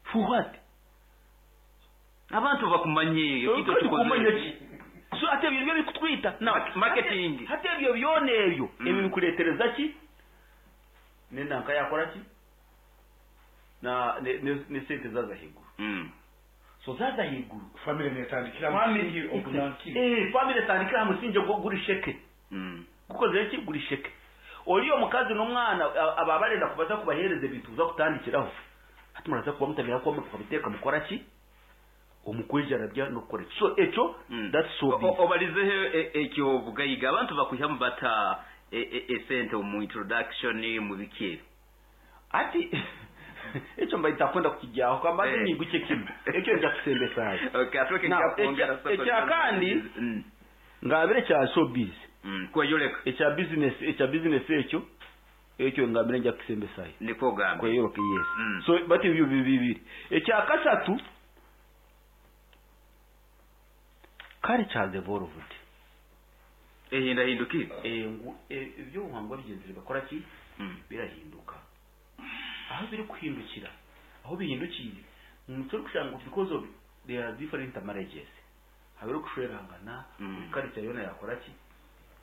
[SPEAKER 1] For what?
[SPEAKER 2] Abantu bakumanye
[SPEAKER 1] kitu tukumanye ki? So ate ebyo bikutwita. Now
[SPEAKER 2] marketing.
[SPEAKER 1] Ate ebyo byone ebyo ebyo bikuletereza ki? Nenda nkayakora ki? Na ne sente zaza higuru. So zaza higuru.
[SPEAKER 4] Family netandikira musingi ogunanki.
[SPEAKER 1] Family etandikira musingi guri sheke. Kuko zeki guri sheke. Oli omukazi n'omwana ababarenda kubaza kubahereza ebintu uza kutandikiraho. Hati muraza kuba mutabira ko mukabiteka mukora ki? Omukwijara bya no kukora. So ekyo that's so big.
[SPEAKER 2] Obalizeho ekyo bugayiga abantu bakwihamu bata esente mu introduction mu biki.
[SPEAKER 1] Ati ekyo mbaita kwenda kukijyaho kwamba nyiguke kimwe. Ekyo nja kusembesayo.
[SPEAKER 2] Okay, atoke kya
[SPEAKER 1] ekya kandi ngabire kya showbiz.
[SPEAKER 2] Kweyoleka.
[SPEAKER 1] Ekya business, ekya business ekyo ekyo ngabire nja kusembesayo.
[SPEAKER 2] Niko gambe.
[SPEAKER 1] Kweyoleka, yes. So but ebyo bibiri. Ekya kasatu culture has evolved.
[SPEAKER 2] Ehindahindukire.
[SPEAKER 1] Ebyo buhangwa bigenzire bakora ki? Birahinduka. Aho biri kuhindukira, aho bihindukiye, turi kushanga because of there are different marriages. Habiri kushwerangana, culture yona yakora ki?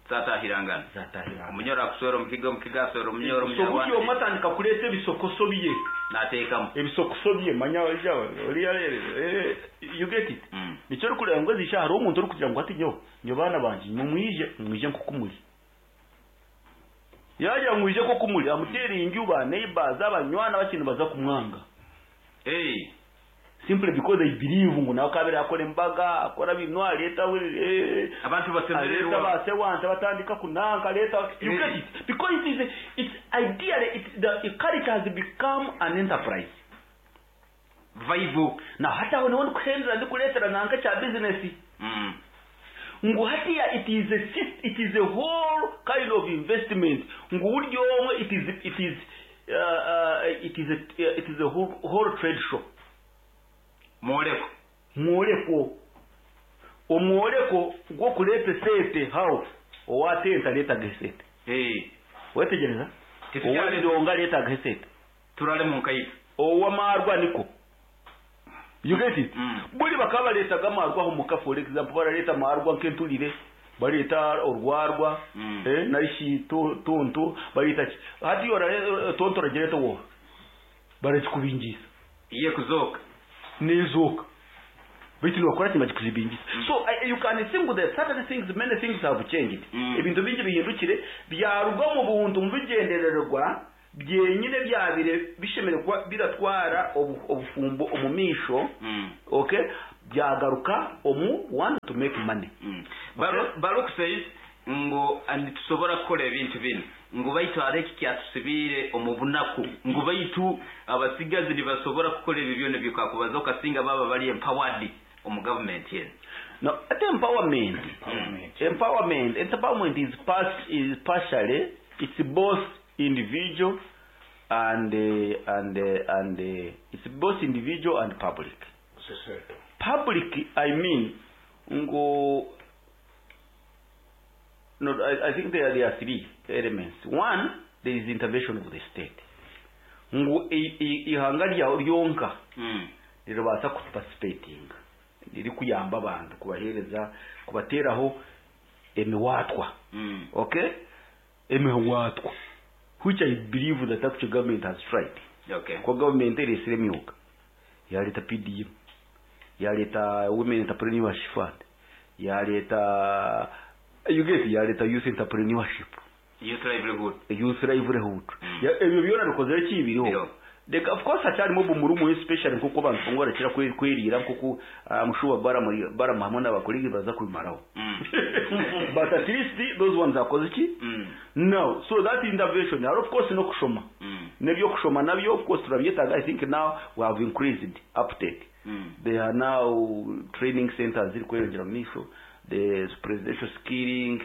[SPEAKER 2] Zatahirangana.
[SPEAKER 1] Zatahirangana.
[SPEAKER 2] Omunyoro akuswera omukiga, omukiga aswera omunyoro,
[SPEAKER 1] So
[SPEAKER 2] omunyarwanda.
[SPEAKER 1] gutyo omwe atandika kuleeta ebisokoso bye.
[SPEAKER 2] Nateekamu.
[SPEAKER 1] Ebisokoso bye, manya oriya, you get it? Nikyo ori kureba ngo ezisha hariho omuntu orikugira ngu ati nyo, nyo baana bangye, nyo mwije, mwije nkoku muri. Yagira mwije nkoku muri, amuteera inju, ba neighbors, abanywana bakintu baza kumwanga. Simply because they believe ngo nawe kabiri akora embaga, akora bino, aleta we
[SPEAKER 2] Abantu basemererwa.
[SPEAKER 1] aleta base wante batandika kunanka, aleta, you get it? Because it is, it's ideally, it, the culture has become an enterprise.
[SPEAKER 2] Vibe.
[SPEAKER 1] Na hata aho niho ndikuhendera ndikuretera nanka kya business. Ngo hatiya it is a system, it is a whole kind of investment. Ngo buryo omwe it is, it is it is a it is a whole, whole trade show.
[SPEAKER 2] Mwoleko.
[SPEAKER 1] Mwoleko. Omwoleko gwo kuleta sente how owatenta leta gesete. Wetegereza?
[SPEAKER 2] Titukyale-
[SPEAKER 1] Owandonga leta gesete.
[SPEAKER 2] Turale mu nkayitu.
[SPEAKER 1] Owamarwa niko. You get it? Buli bakaba leta gamarwa ho muka, for example baraleta marwa nkentulire, bareta orwarwa, naishi tonto bareta ki? Hati yora tonto ragereta wo. Barakikubingiza.
[SPEAKER 2] Iye kuzoka.
[SPEAKER 1] Nezoka. Baitu nibakora kimwe kikuzibingiza. So you can think that certain things, many things have changed. Ebintu bingi bihindukire byaruga mu buntu mu bigendererwa.
[SPEAKER 3] Byenyine byabire bishemere kuba biratwara obufumbo omu maisho. Okay, byagaruka omu one to make money.
[SPEAKER 2] Baruch says ngu nitusobora kukora ebintu binu, ngu baitu hariho eki kyatusibiire omu bunaku, ngu baitu abasigazi nibasobora kukora ebyo byona eby'okakubaza okasinga baba bari empowered omu gavumenti enu.
[SPEAKER 3] No, at empowerment. Empowerment. Empowerment is partially, it's both individual and it's both individual and public. Public, I mean, ngo. No, I think there are three elements. One, there is intervention of the state. Ngo ihanga ryonka rirabasa kuparticipating. Riri kuyamba abantu kubahereza kubateraho emiwatwa. Okay? Emiwatwa. Which I believe that actual government has tried.
[SPEAKER 2] Okay.
[SPEAKER 3] Kwa government iresire emyuga. Yareta PDM. Yareta Women Entrepreneurship Fund. Yareta you get yareta youth entrepreneurship.
[SPEAKER 2] Youth livelihood.
[SPEAKER 3] Youth livelihood. Ebyo byona bikozere kibiriho. Of course acyarimo bumurumu especially nkuko abantu ngo barakira kwerira nkuko amushuba bara hamwe n'abakolegi baza kubimaraho. But at least those ones akoze iki? No, so that intervention of course no kushoma. Nebyo kushoma nabyo of course turabyetaga. I think now we have increased uptake. There are now training centers ziri kweyongera mu misho, the presidential skilling,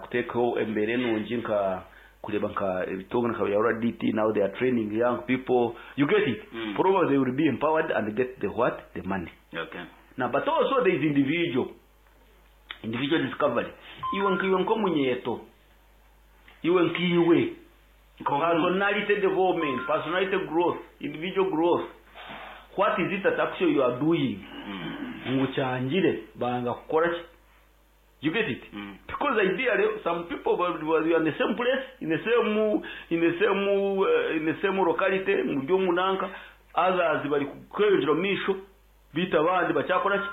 [SPEAKER 3] kutekaho embere nungi nka kureba nka ebitongo nka ya RDT. Now they are training young people, you get it. Probably they will be empowered and get the what? The money.
[SPEAKER 2] Okay.
[SPEAKER 3] Now but also there is individual discovery. Iwe nkiwe nkomunyeto, iwe nkiwe personality development, personality growth, individual growth. What is it that actually you are doing? Nguchangire banga kukora. You get it? Because ideally, some people were in the same place, in the same locality, mu byo munanka, others bari kweyongera misho, bita abandi bacyakora ki?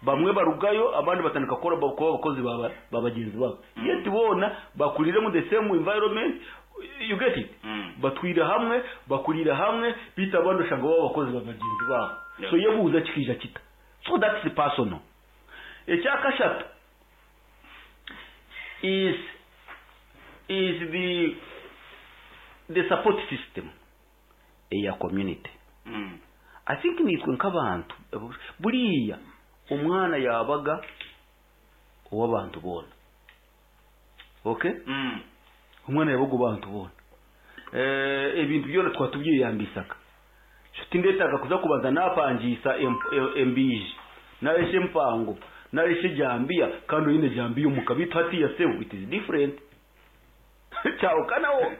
[SPEAKER 3] Bamwe barugayo, abandi batandika kukora kuba abakozi babagenzi babo. Yet bona bakurire mu the same environment, you get it? Batwira hamwe, bakurira hamwe, bita abandi ushanga baba abakozi babagenzi babo. So yebuza kikija kita. So that's the personal. Ecyakashatu is the support system eya community. I think nitwe nk'abantu buriya umwana yabaga uw'abantu bona. Okay? Umwana yabaga ubantu bona. Ebintu byona twatubyiyambisaka. Shuti ndetaga kuza kubaza napangisa embiji. Nareshe mpango. Nareshe jambia kandi yine jambiya umukabita hati ya sebu, it is different. Cyawukanawo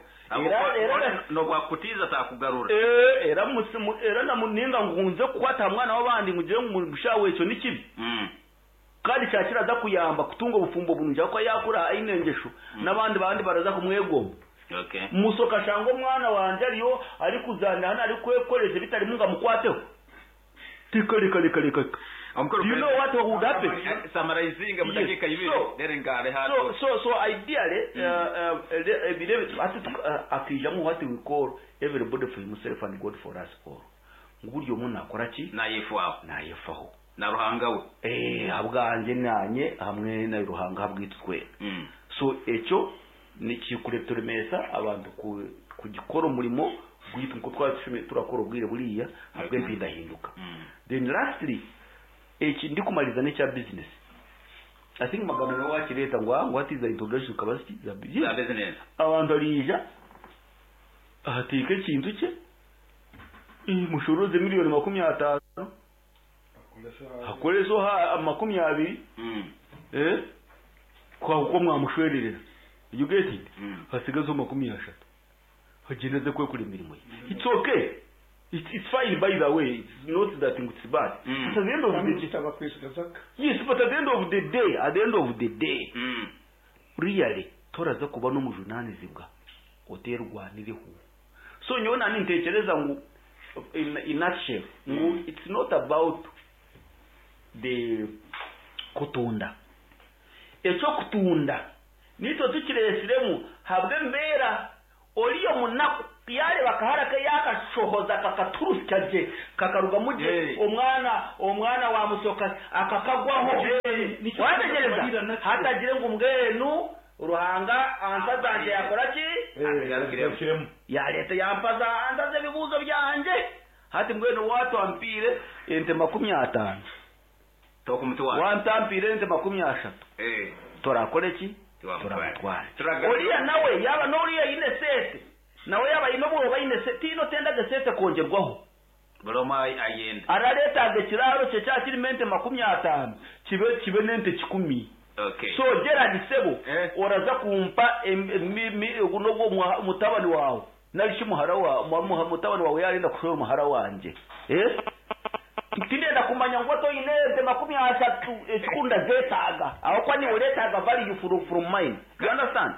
[SPEAKER 2] era no bwakutiza takugarura.
[SPEAKER 3] Era musimu era namuninga ngunze kukwata mwana w'abandi ngugire mushawe ecyo nikibi. Kandi cyakira za kuyamba kutunga ubufumbo bunja ko yakura ainengesho nabandi bandi baraza kumwegomba.
[SPEAKER 2] Okay.
[SPEAKER 3] Musoka shango mwana wanje ariyo ari kuzana hana ari kwekoresha bitari munga mukwateho. Tika. Do you know what would happen?
[SPEAKER 2] Summarizing mudakika ibiri derengare hato.
[SPEAKER 3] So ideally akijamo what we call everybody for himself and God for us all. Nguburyo umuntu akora ki? Nayefaho.
[SPEAKER 2] Na ruhanga we.
[SPEAKER 3] Abwanje nanye hamwe na ruhanga habwitwe. So ecyo ni kikureturemesa abantu kugikora umurimo gwitwa nko twashimye turakora ubwire buriya habwe mpindahinduka. Then lastly eki ndi kumaliza n'icya business. I think magana wakireta ngo what is the introduction capacity za
[SPEAKER 2] business.
[SPEAKER 3] Abantu arija ahatike ikintu cye mushuruze miliyoni 25 akoreso ha 20 kwa uko mwamushwererera. You get it? Hasigazo 30 hageneze kwe kuri mirimo ye. It's okay. It's fine, by the way. It's not that it's bad. But at the end of the day, yes, but at the end of the day, at the end of the day, really, toraza kuba no mujunanizibwa oterwaniriho. So nyona nintekereza ngo in nutshell, ngo it's not about the kutunda. Ecyo kutunda nitwe tukiresiremu habwe mbera
[SPEAKER 5] Oriyo munaku yareba akahara ke yakashohoza kakaturusya gye kakarugamu gye omwana omwana wamusoka akakagwaho. Wategereza hatagire ngu mbwenu Ruhanga ansa zangye yakora ki? Yaleeta yampaza ansaza ebibuuzo byangye. Hati mbwenu watwampiire ente 50, wantampiire ente 30, turakora ki? Turamutwara. Oriya nawe yaba n'oriya aine sente, nawe yaba aine obwoba aine sente, tihaine otendaga esente kwongerwaho.
[SPEAKER 2] Buri omwe ayenda.
[SPEAKER 5] Arareetaaga ekiraaro kye kyaba kirimu ente 50, kibe kibe n'ente 100. So Gerald sebo, oraza kumpa n'ogwo mutabani waawe nari shi muhara waawe, mutabani waawe yaarenda kushwera omuhara wangye. Tindenda kumanya ngu oti oine ente 30 ekikuru ndazeetaaga ahabw'okuba niiwe oreetaaga value from mine. You understand?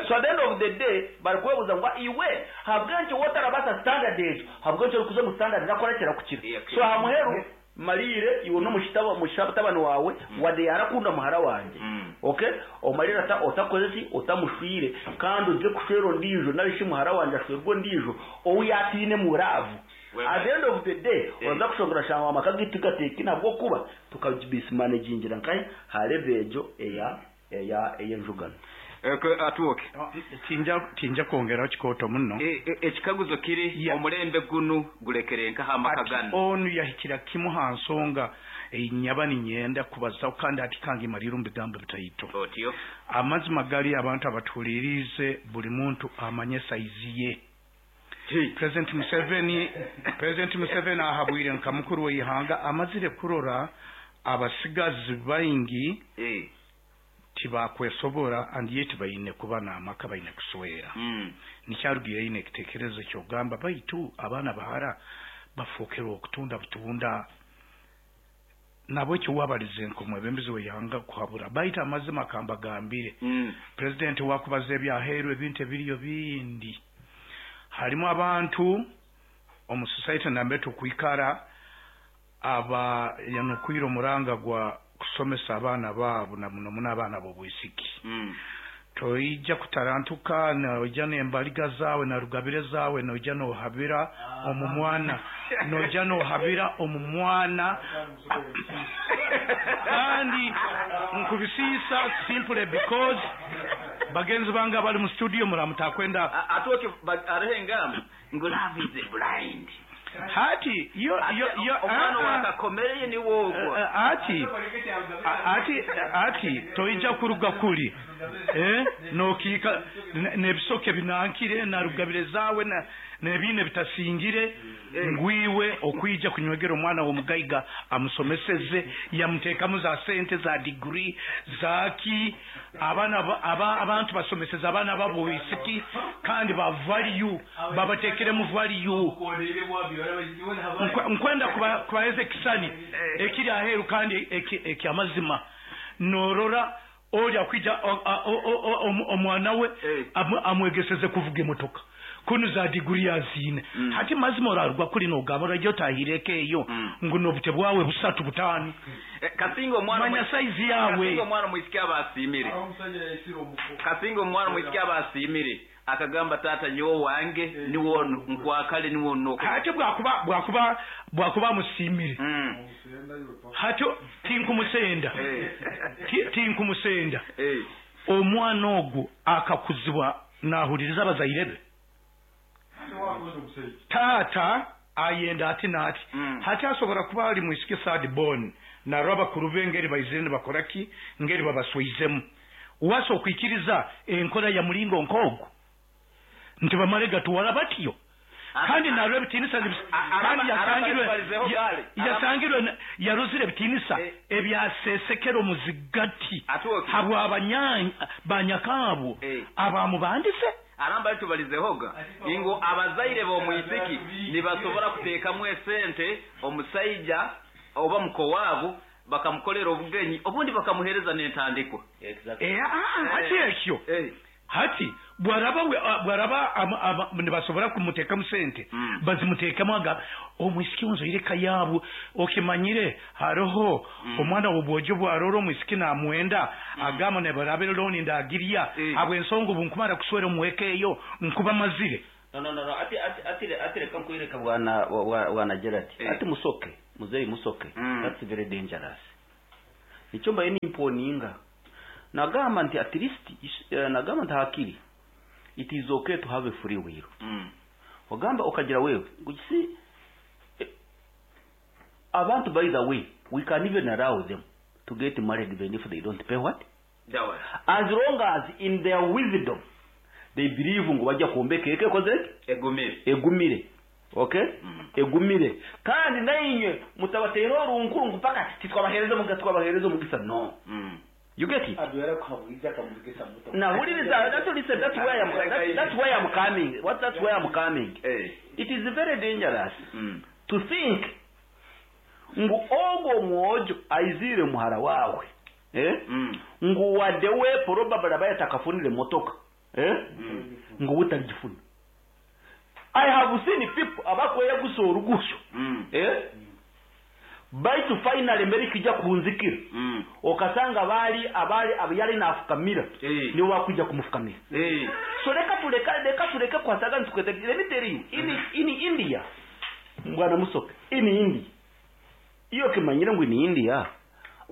[SPEAKER 5] So at the end of the day barikwebuuza ngu iwe ahabw'enki wowe otarabaasa standard egyo, ahabw'enki orikuza omu standard erakora ki erakukira? So aha muheru mariire iwe n'omutabani waawe wadde yaarakunda muhara wangye, okay? Omariire otakoze ki? Otamushwire kandi oze kushwera ondiijo nari shi muhara wangye ashwerwe ondiijo ou yaatainemu love. At the end of the day oraza kushanga orashanga amaka gaitu tigateekaine ahabw'okuba tukamismanagingira nkahi ha level egyo eya eya ey'enjugano.
[SPEAKER 2] Atwoke.
[SPEAKER 4] Tinja tinja kwongeraho kikooto muno.
[SPEAKER 2] Ekikaguzo kiri, omulembe gunu gurekere nkaha amaka
[SPEAKER 4] Ati
[SPEAKER 2] ganu?
[SPEAKER 4] onu yahikira kimu ha nsonga ei nyaba ninyenda kubazaho kandi hati kangimalire omu bigambo bitaito.
[SPEAKER 2] Otyo.
[SPEAKER 4] Amazima gali abantu abatuhuliriize buli muntu amanye saizi ye. President Museveni President Museveni ahabwire nka mukuru w'ihanga amazire kurora abasigazi baingi tibakwesobora and yet baine kuba n'amaka baine kuswera. Nikyarugiire aine ekitekerezo ky'okugamba baitu abaana bahara bafokerwe okutunda butunda. Nabwekyo wabalize nk'omwebembezi w'ihanga kuhabura baitu amazima kambagambire. President wakubaza ebyaheeru ebintu ebiriyo bindi. Harimu abantu omu society nambere tukwikara aba yanukwire omuranga gwa kusomesa abaana baabo na muno muno abaana b'obwisiki. Toija kutarantuka noija n'embaliga zaawe na rugabire zaawe noija nohabira omu mwana noija nohabira omu mwana kandi nkubisiisa simply because bagenzi bange abali mu studio muramutakwenda
[SPEAKER 2] Atwoke hariho engamba ngu love is blind.
[SPEAKER 4] Hati yo yo yo
[SPEAKER 2] Omwana wakakomereye niwe ogwo.
[SPEAKER 4] Ati ati ati toija kuruga kuri nokiika n'ebisoke binankire na rugabire zaawe n'ebiine bitasingire ngwiwe okwija kunywegera omwana w'omugaiga amusomeseze yamuteekamu za sente za degree zaki abaana abantu basomeseza abaana babo wisiki kandi ba value babateekeremu value. Nkwenda kubaheza ekisani ekiri aheeru kandi ekyamazima. Norora ori akwija omwana we amwegeseze kuvuga emotoka kunu za degree yaziine. Hati mazima orarugwa kuri nogamba orajya otahireko eyo ngu n'obute bwawe busatu butaano.
[SPEAKER 2] Kasinga omwana
[SPEAKER 4] Manya size yawe.
[SPEAKER 2] Kasinga omwana mwisiki abasiimire. Kasinga omwana mwisiki abasiimire akagamba tata nyowe wange niwo nkwakale niwo noko.
[SPEAKER 4] Hati bwakuba bwakuba bwakuba amusiimire. Hati tinkumusenda. Tinkumusenda. Omwana ogwo akakuzibwa nahuliriza abazaire be. Tata ayenda ati n'ati. Hati asobora kuba ali mwisiki third born narwo abakuru be ngeri baizire nibakora ki ngeri babaswizemu. Wasa okwikiriza enkora ya mulingo nk'ogwo nti bamale gatuwala batyo. Kandi narwo ebitiinisa kandi yasangirwe yasangirwe yarozire ebitiinisa ebyasesekera omuzigati habwa banyakaabo abamubandise.
[SPEAKER 2] Aramba tubalizehoga ingo abazaire b'omwisiki nibasobora kuteekamu esente omusaija oba muko waabo bakamukolera obugenyi obundi bakamuhereza n'entandikwa.
[SPEAKER 4] Ati ekyo. Hati bwaraba bwaraba nibasobora kumuteekamu sente, bazimuteekemu aga omwisiki onzoire eka yaabo okimanyire hariho omwana w'obwojo bwarora omwisiki namwenda agamba nebaraba looni ndagirya habw'ensonga obu nkumara kuswera omu eka eyo nkuba mazire.
[SPEAKER 3] No, no, no, no. Ati ati ati ati reka nkwereka bwana bwana Gerard. Ati musoke, muzeyi musoke. That's very dangerous. Nikyo mbaye nimponinga. Nagamba nti at least nagamba nti hakiri it is okay to have a free will. Ogamba okagira wewe you see, abantu, by the way, we can even allow them to get married even if they don't pay what?
[SPEAKER 2] Dowry.
[SPEAKER 3] As long as in their wisdom they believe ngu bajja kwombeka eka ekoze eti?
[SPEAKER 2] Egumire.
[SPEAKER 3] Egumire, okay, egumire. Kandi nainywe mutabateera orunkuru ngu mpaka titwabaheereza omugisa, twabaheereza omugisa. No. You get it? Now, huliriza, that's, listen, that's where I'm coming. What that's where I'm coming. It is very dangerous to think ngu ogwo omwojo aizire muhara wawe, eh? Ngu wadde we probably abaye atakafunire motoka, eh? Ngu utaligifuna. I have seen people abakweyagusa orugusho, eh? Baitu finally mbere kijja kunzikira, okasanga bali abali abayali nafukamira, nibo bakujja kumufukamira. So reka tuleka, reka tuleke kwasaga ntukwete. Let me tell you, in India, bwana Musoke, in India, iyo kimanyire ngu in India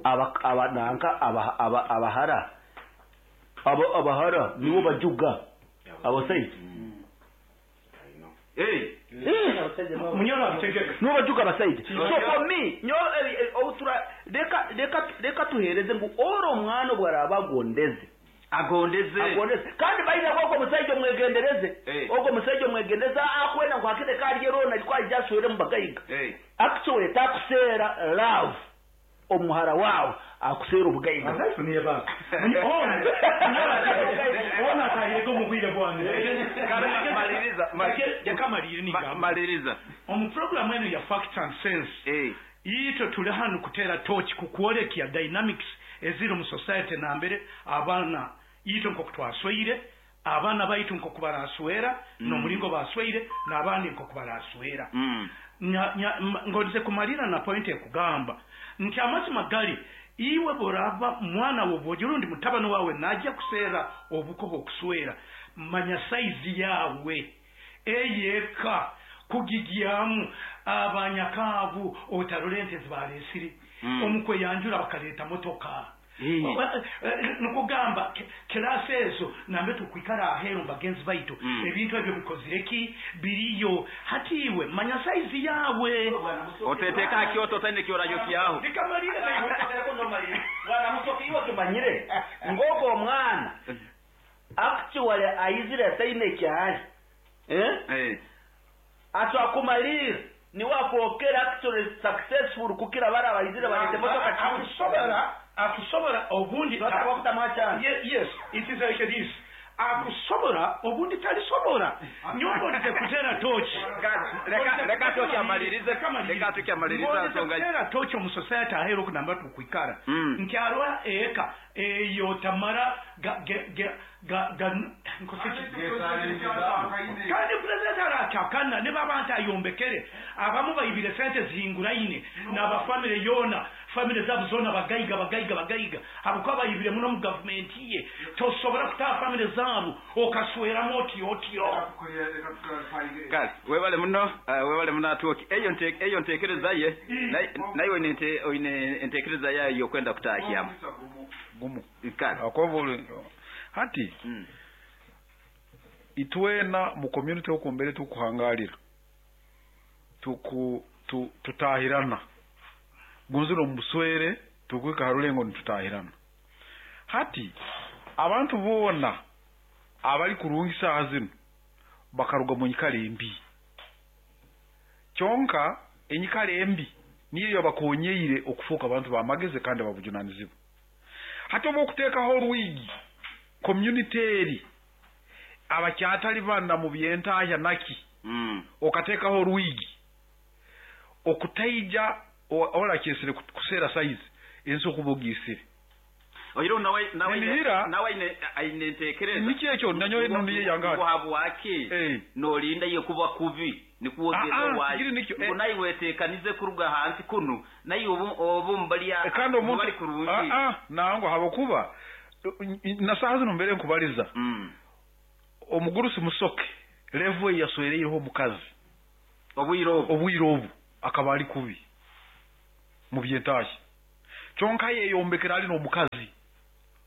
[SPEAKER 3] aba aba nanka aba aba abahara aba abahara nibo bajuga abasaija.
[SPEAKER 4] Munyoro abitegeka.
[SPEAKER 3] Nibo bajuga abasaija. So for me nyo obutura, reka tuhereze ngu oro omwana obwaraba agondeze,
[SPEAKER 2] agondeze,
[SPEAKER 3] agondeze. Kandi baina ogwo musajja omwegendereze, ogwo musajja omwegendereze akwenda ngu akire karye rona alikuwa aswere mu bagayiga. Actually takuseera love omuhara wawe, akuseera obugayiga.
[SPEAKER 4] Azafuniye ba ona atahirega omu bwire bwange.
[SPEAKER 2] Maliriza.
[SPEAKER 4] Reka malire nigamba.
[SPEAKER 2] Maliriza.
[SPEAKER 4] Omu programu eno ya Fact and Sense, itwe tuli hano kuteera tochi kukwolekya dynamics eziri mu society nambere abaana itwe nkoku twasweire, abaana baitu nkoku baraswera, n'omulingo basweire n'abandi nkoku baraswera. Ngonze kumalira na point ekugamba nti amazima gali iwe boraba mwana wobwojo rundi mutabani wawe najja kuseera obuko bw'okuswera, manya saizi yawe eyeka kugigyamu abanyakaabu otarole ente zibalesire, omukweyanjura bakaleeta motoka. Nikugamba kirasi ezo nambe tukwikara aheeru bagenzi baitu, ebintu ebyo bikozire ki biriyo. Hati iwe manya saizi yawe.
[SPEAKER 2] Oteteeka hakyoto otaine kyorayo kyaho.
[SPEAKER 4] Likamalire.
[SPEAKER 3] Bwana Musoke, iwe kimanyire ngoko omwana actually aizire ataine kyali, eh? Atwakumalira niwe afookera actually successful kukira bara abaizire balete motoka.
[SPEAKER 4] Akusobora obundi. Yes, it is like this, akusobora obundi talisobora. Nyongonize kutera tochi.
[SPEAKER 2] Reka tochi amalirize, reka tochi amalirize nsonga.
[SPEAKER 4] Kutera tochi omu society aheeru okunamba tukwikara nti arwa eka eyo tamara ga ga ga ga kandi purezidenti arakyakana ne baba nti ayombekere abamu bayibire sente zihinguraine n'abafamire yona, famire zabo zona bagayiga, bagayiga, bagayiga, habwokuba bayibire muno mu gavumenti ye. Tosobora kutaha famire zabo okasweramu otyo otyo.
[SPEAKER 2] Kale webale muno, webale muno atuoki eyo eyo ntekereza ye naye oine entekereza yayo yokwenda kutahyamu.
[SPEAKER 6] Gumu.
[SPEAKER 2] Kale.
[SPEAKER 6] Akobo hati itwena mu community okumbere tukuhangalira tuku tutahirana gunziro muswere tukwika harulengo nitutahirana. Hati abantu bona abali kurungisa hazino bakaruga mu nyikara embi, kyonka enyikara embi niyo bakonyeire okufuuka abantu bamagezi kandi babujunanizibwa. Hati oba okuteekaho orwigi community eri abakyatali bana mu byentahya naki, okateekaho orwigi okutaija orakyesire kuseera size ensi okuba ogiisire.
[SPEAKER 2] Oiro nawe nawe
[SPEAKER 6] Ninihira-
[SPEAKER 2] nawe aine aine entekereza.
[SPEAKER 6] Niki ekyo nanyowe noniye yanga
[SPEAKER 2] Ngo habwaki
[SPEAKER 6] Eh.
[SPEAKER 2] nolinda ye kuba kubi nikuwogeza
[SPEAKER 6] Ah, ah,
[SPEAKER 2] wayi.
[SPEAKER 6] kiri nikyo,
[SPEAKER 2] Ngo
[SPEAKER 6] eh.
[SPEAKER 2] naye wetekanize kuruga hansi kuno naye obu obu mbalya
[SPEAKER 6] Eh, kandi omuntu
[SPEAKER 2] bali kurungi.
[SPEAKER 6] Ah, ah, nango habokuba na saha zino mbere nkubaliza Omugurusi Musoke level yaswereireho omukazi
[SPEAKER 2] obwire obu
[SPEAKER 6] obwire obu akaba ali kubi mu byentashya kyonka yeyombekera ali n'omukazi.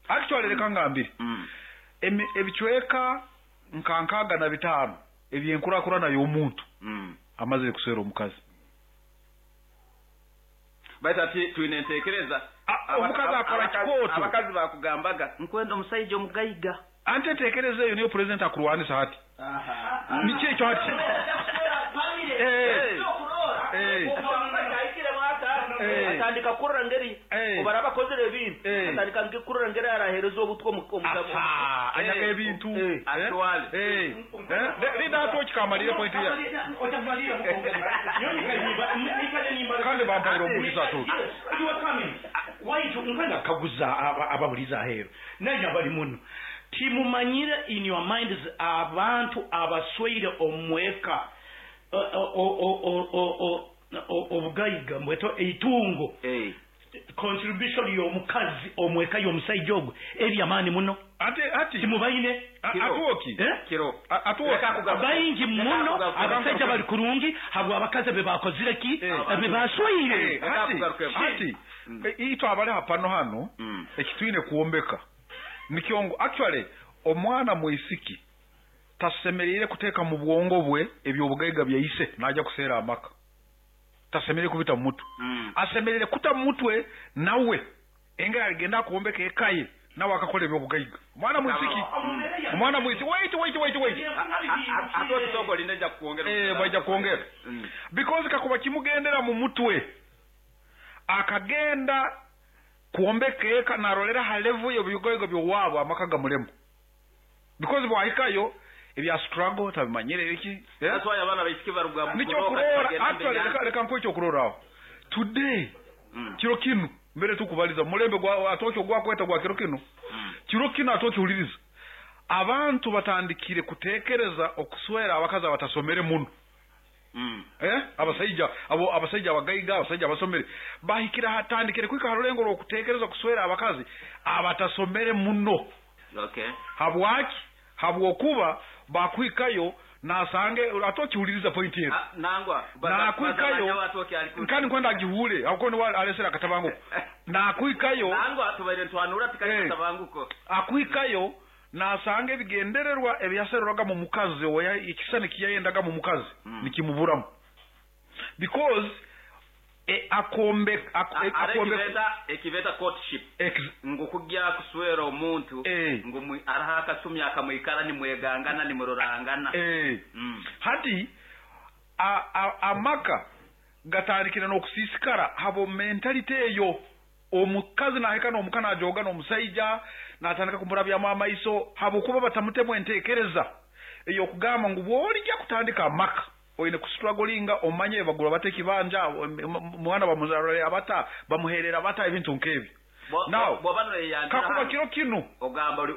[SPEAKER 6] Actually, reka ngambire, ebicweka nka 65 ebyenkurakurana y'omuntu amazire kuswera omukazi.
[SPEAKER 2] Baita ati twine entekereza.
[SPEAKER 6] Omukazi akora kikooto.
[SPEAKER 2] Abakazi bakugambaga nkwenda omusajja omugaiga.
[SPEAKER 6] Ante entekereza eyo niyo president akurwanisa hati. Niki ekyo hati? Eh. Eh. Eh.
[SPEAKER 5] Atandika kurora ngeri obara bakozere ebintu, atandika nge kurora ngeri arahereza obutwa omugabo.
[SPEAKER 6] Asa, anyaga ebintu.
[SPEAKER 2] Actually.
[SPEAKER 6] Eh. Eh, linda atoki kamalire point ya kandi bampaire omugisa atoki.
[SPEAKER 4] Waitu nkwenda kaguza ababuliza aheeru naye abali muno timumanyire in your minds abantu abasweire omweka obugayiga mbweto eitungo, contribution y'omukazi omweka y'omusajja ogwo eri amaani muno.
[SPEAKER 6] Ate ati
[SPEAKER 4] timubaine.
[SPEAKER 6] Atoki.
[SPEAKER 4] Eh?
[SPEAKER 2] Kiro.
[SPEAKER 6] Atoki.
[SPEAKER 4] Baingi muno abasajja bali kurungi habwa abakazi be bakozire ki be basweire.
[SPEAKER 6] Eh, hati hati itwe abali hapano hano ekitwine kuwombeka nikyo ngu actually omwana mwisiki tasemereire kuteeka mu bwongo bwe ebyobugaiga byaise najja kuseera amaka. Tasemereire kubita mu mutwe, asemereire kuta mu mutwe nawe enga aligenda akuwombeka ekaye nawe akakola ebyobugaiga. Omwana mwisiki, omwana mwisiki, wait, wait, wait, wait.
[SPEAKER 2] Atoki soko linda kuongera.
[SPEAKER 6] Eh, bajja kwongera because kakuba kimugendera mu mutwe akagenda kuombeka eka narolera ha level y'ebigoyigo by'owaabwe amaka gamulemu because bwahikayo ebya struggle tabimanyire biki, eh?
[SPEAKER 2] That's why abaana baisiki baruga mu
[SPEAKER 6] Nikyo
[SPEAKER 2] kuroka,
[SPEAKER 6] kurora
[SPEAKER 2] bagenda
[SPEAKER 6] actually
[SPEAKER 2] mbere.
[SPEAKER 6] reka nkuwe ekyokuroraho today. Kiro kinu mbere tukubaliza mulembe gwa atoki ogwakweta gwa kiro kinu, kiro kinu atoki huliriza abantu batandikire kutekereza okuswera abakazi abatasomere muno. Eh, abasaija abo, abasaija abagaiga, abasaija abasomere bahikira hatandikire kwika harulengo rw'okutekereza kuswera abakazi abatasomere muno. Habwaki? Habwokuba bakwikayo nasange atokiwuliriza point yetu.
[SPEAKER 2] Ah, nangwa
[SPEAKER 6] Nakwikayo nkani nkwenda agihure ahubwo niwe alesera akatabanguko nakwikayo.
[SPEAKER 2] Nangwa tubaire ntwanura tikatabanguko.
[SPEAKER 6] Akwikayo nasanga ebigendererwa ebyasererwaga mu mukazi oya ekisani kiyayendaga mu mukazi nikimuburamu because akombe akombe
[SPEAKER 2] ekibeta ekibeta courtship ngo kujya kuswera omuntu ngo araha akasumi akamwikara nimwegangana nimurorangana.
[SPEAKER 6] Hati amaka gatandikira n'okusiisikara habo mentality eyo. Omukazi nahika n'omuka najoga n'omusaija natandika kumurabyamu amaiso habwokuba batamutemu enteekereza ey'okugamba ngu bw'olijja kutandika amaka oine kustrugglinga omanye bagura bata ekibanja, mwana bamuzarore abata bamuherera bata ebintu nk'ebyo. Now,
[SPEAKER 2] bwoba noyeyandira
[SPEAKER 6] kakuba kiro kinu
[SPEAKER 2] ogamba oli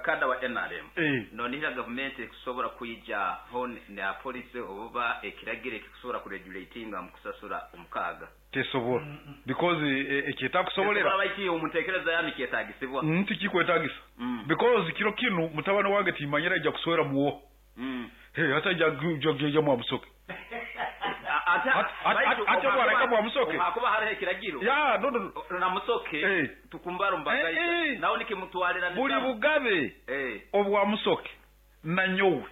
[SPEAKER 2] kada wa NRM nonihira gavumenti ekusobola kwija ho na policy oba ekiragiro ekikusobola kuregulatinga mu kusasura omukaaga.
[SPEAKER 6] Tesobola because ekyetakusobolera
[SPEAKER 2] Tesobola baiki omunteekereza yami kyetagisibwa.
[SPEAKER 6] Tikikwetagisa because kiro kinu mutabani wange timanyira ija kuswera muwo. Hey, hata ija mwamusoke. Ate bwaraika mwamusoke.
[SPEAKER 2] Hakuba hariho ekiragiro
[SPEAKER 6] ya no, no, no.
[SPEAKER 2] Namusoke tukumbara omumbagaija nawe nikimutwarira.
[SPEAKER 6] Buli bugabe obwa musoke nanyowe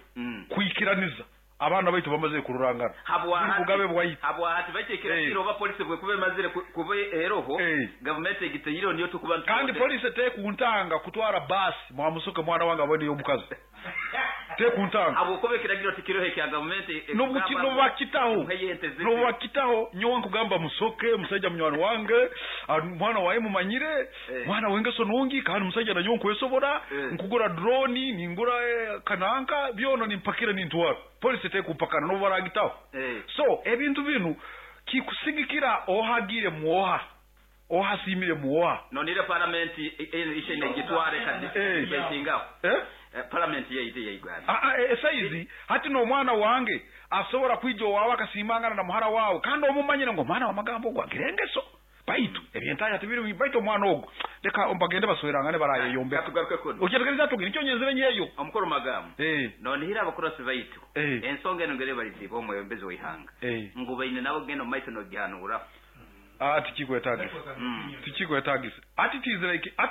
[SPEAKER 6] kwikiraniza abaana baitu bamaze kururangana buli bugabe bwaitu.
[SPEAKER 2] Habwahati baiki ekiragiro oba polisi bwekuba emazire kuba eroho gavumenti egiteire niyo tukuba.
[SPEAKER 6] Kandi polisi tekuntanga kutwara basi mwamusoke mwana wange abone omukazi tekuntanga.
[SPEAKER 2] Habwokuba ekiragiro tikiriho ekya gavumenti.
[SPEAKER 6] Nobakitaho nobakitaho nyowe nkugamba musoke musaija munywani wange, mwana wawe mumanyire, mwana wengeso nungi kandi musaija nanyowe nkwesobora nkugura drone ningura kananka byono nimpakira nintwara polisi tekumpakana nobaragitaho. So ebintu binu kikusigikira ohagire mwoha. Ohasimire muwa.
[SPEAKER 2] Nonire parliament ishene gitware kadi betingaho. Parliament yaitu ya Uganda.
[SPEAKER 6] Esaizi hati n'omwana wange asobora kwija owawe akasimangana na muhara wawe, kandi omumanyire ngo omwana w'amagambo ogwo agira engeso. Baitu ebyentaya tibiri, baitu omwana ogwo reka bagende baswerangane barayeyombeka.
[SPEAKER 2] Katugaruke kuno.
[SPEAKER 6] Okyetegereza tugi nikyo nyenzire nyeyo.
[SPEAKER 2] Omukuru magambo. Nonihira abakurasi baitu. Ensonga eno ngere baliziba omwebembezi w'ihanga. Ngu baine nabo genda omu maiso nogihanuraho.
[SPEAKER 6] Tikikwetagisa. Tikikwetagisa. Ati it is like ati.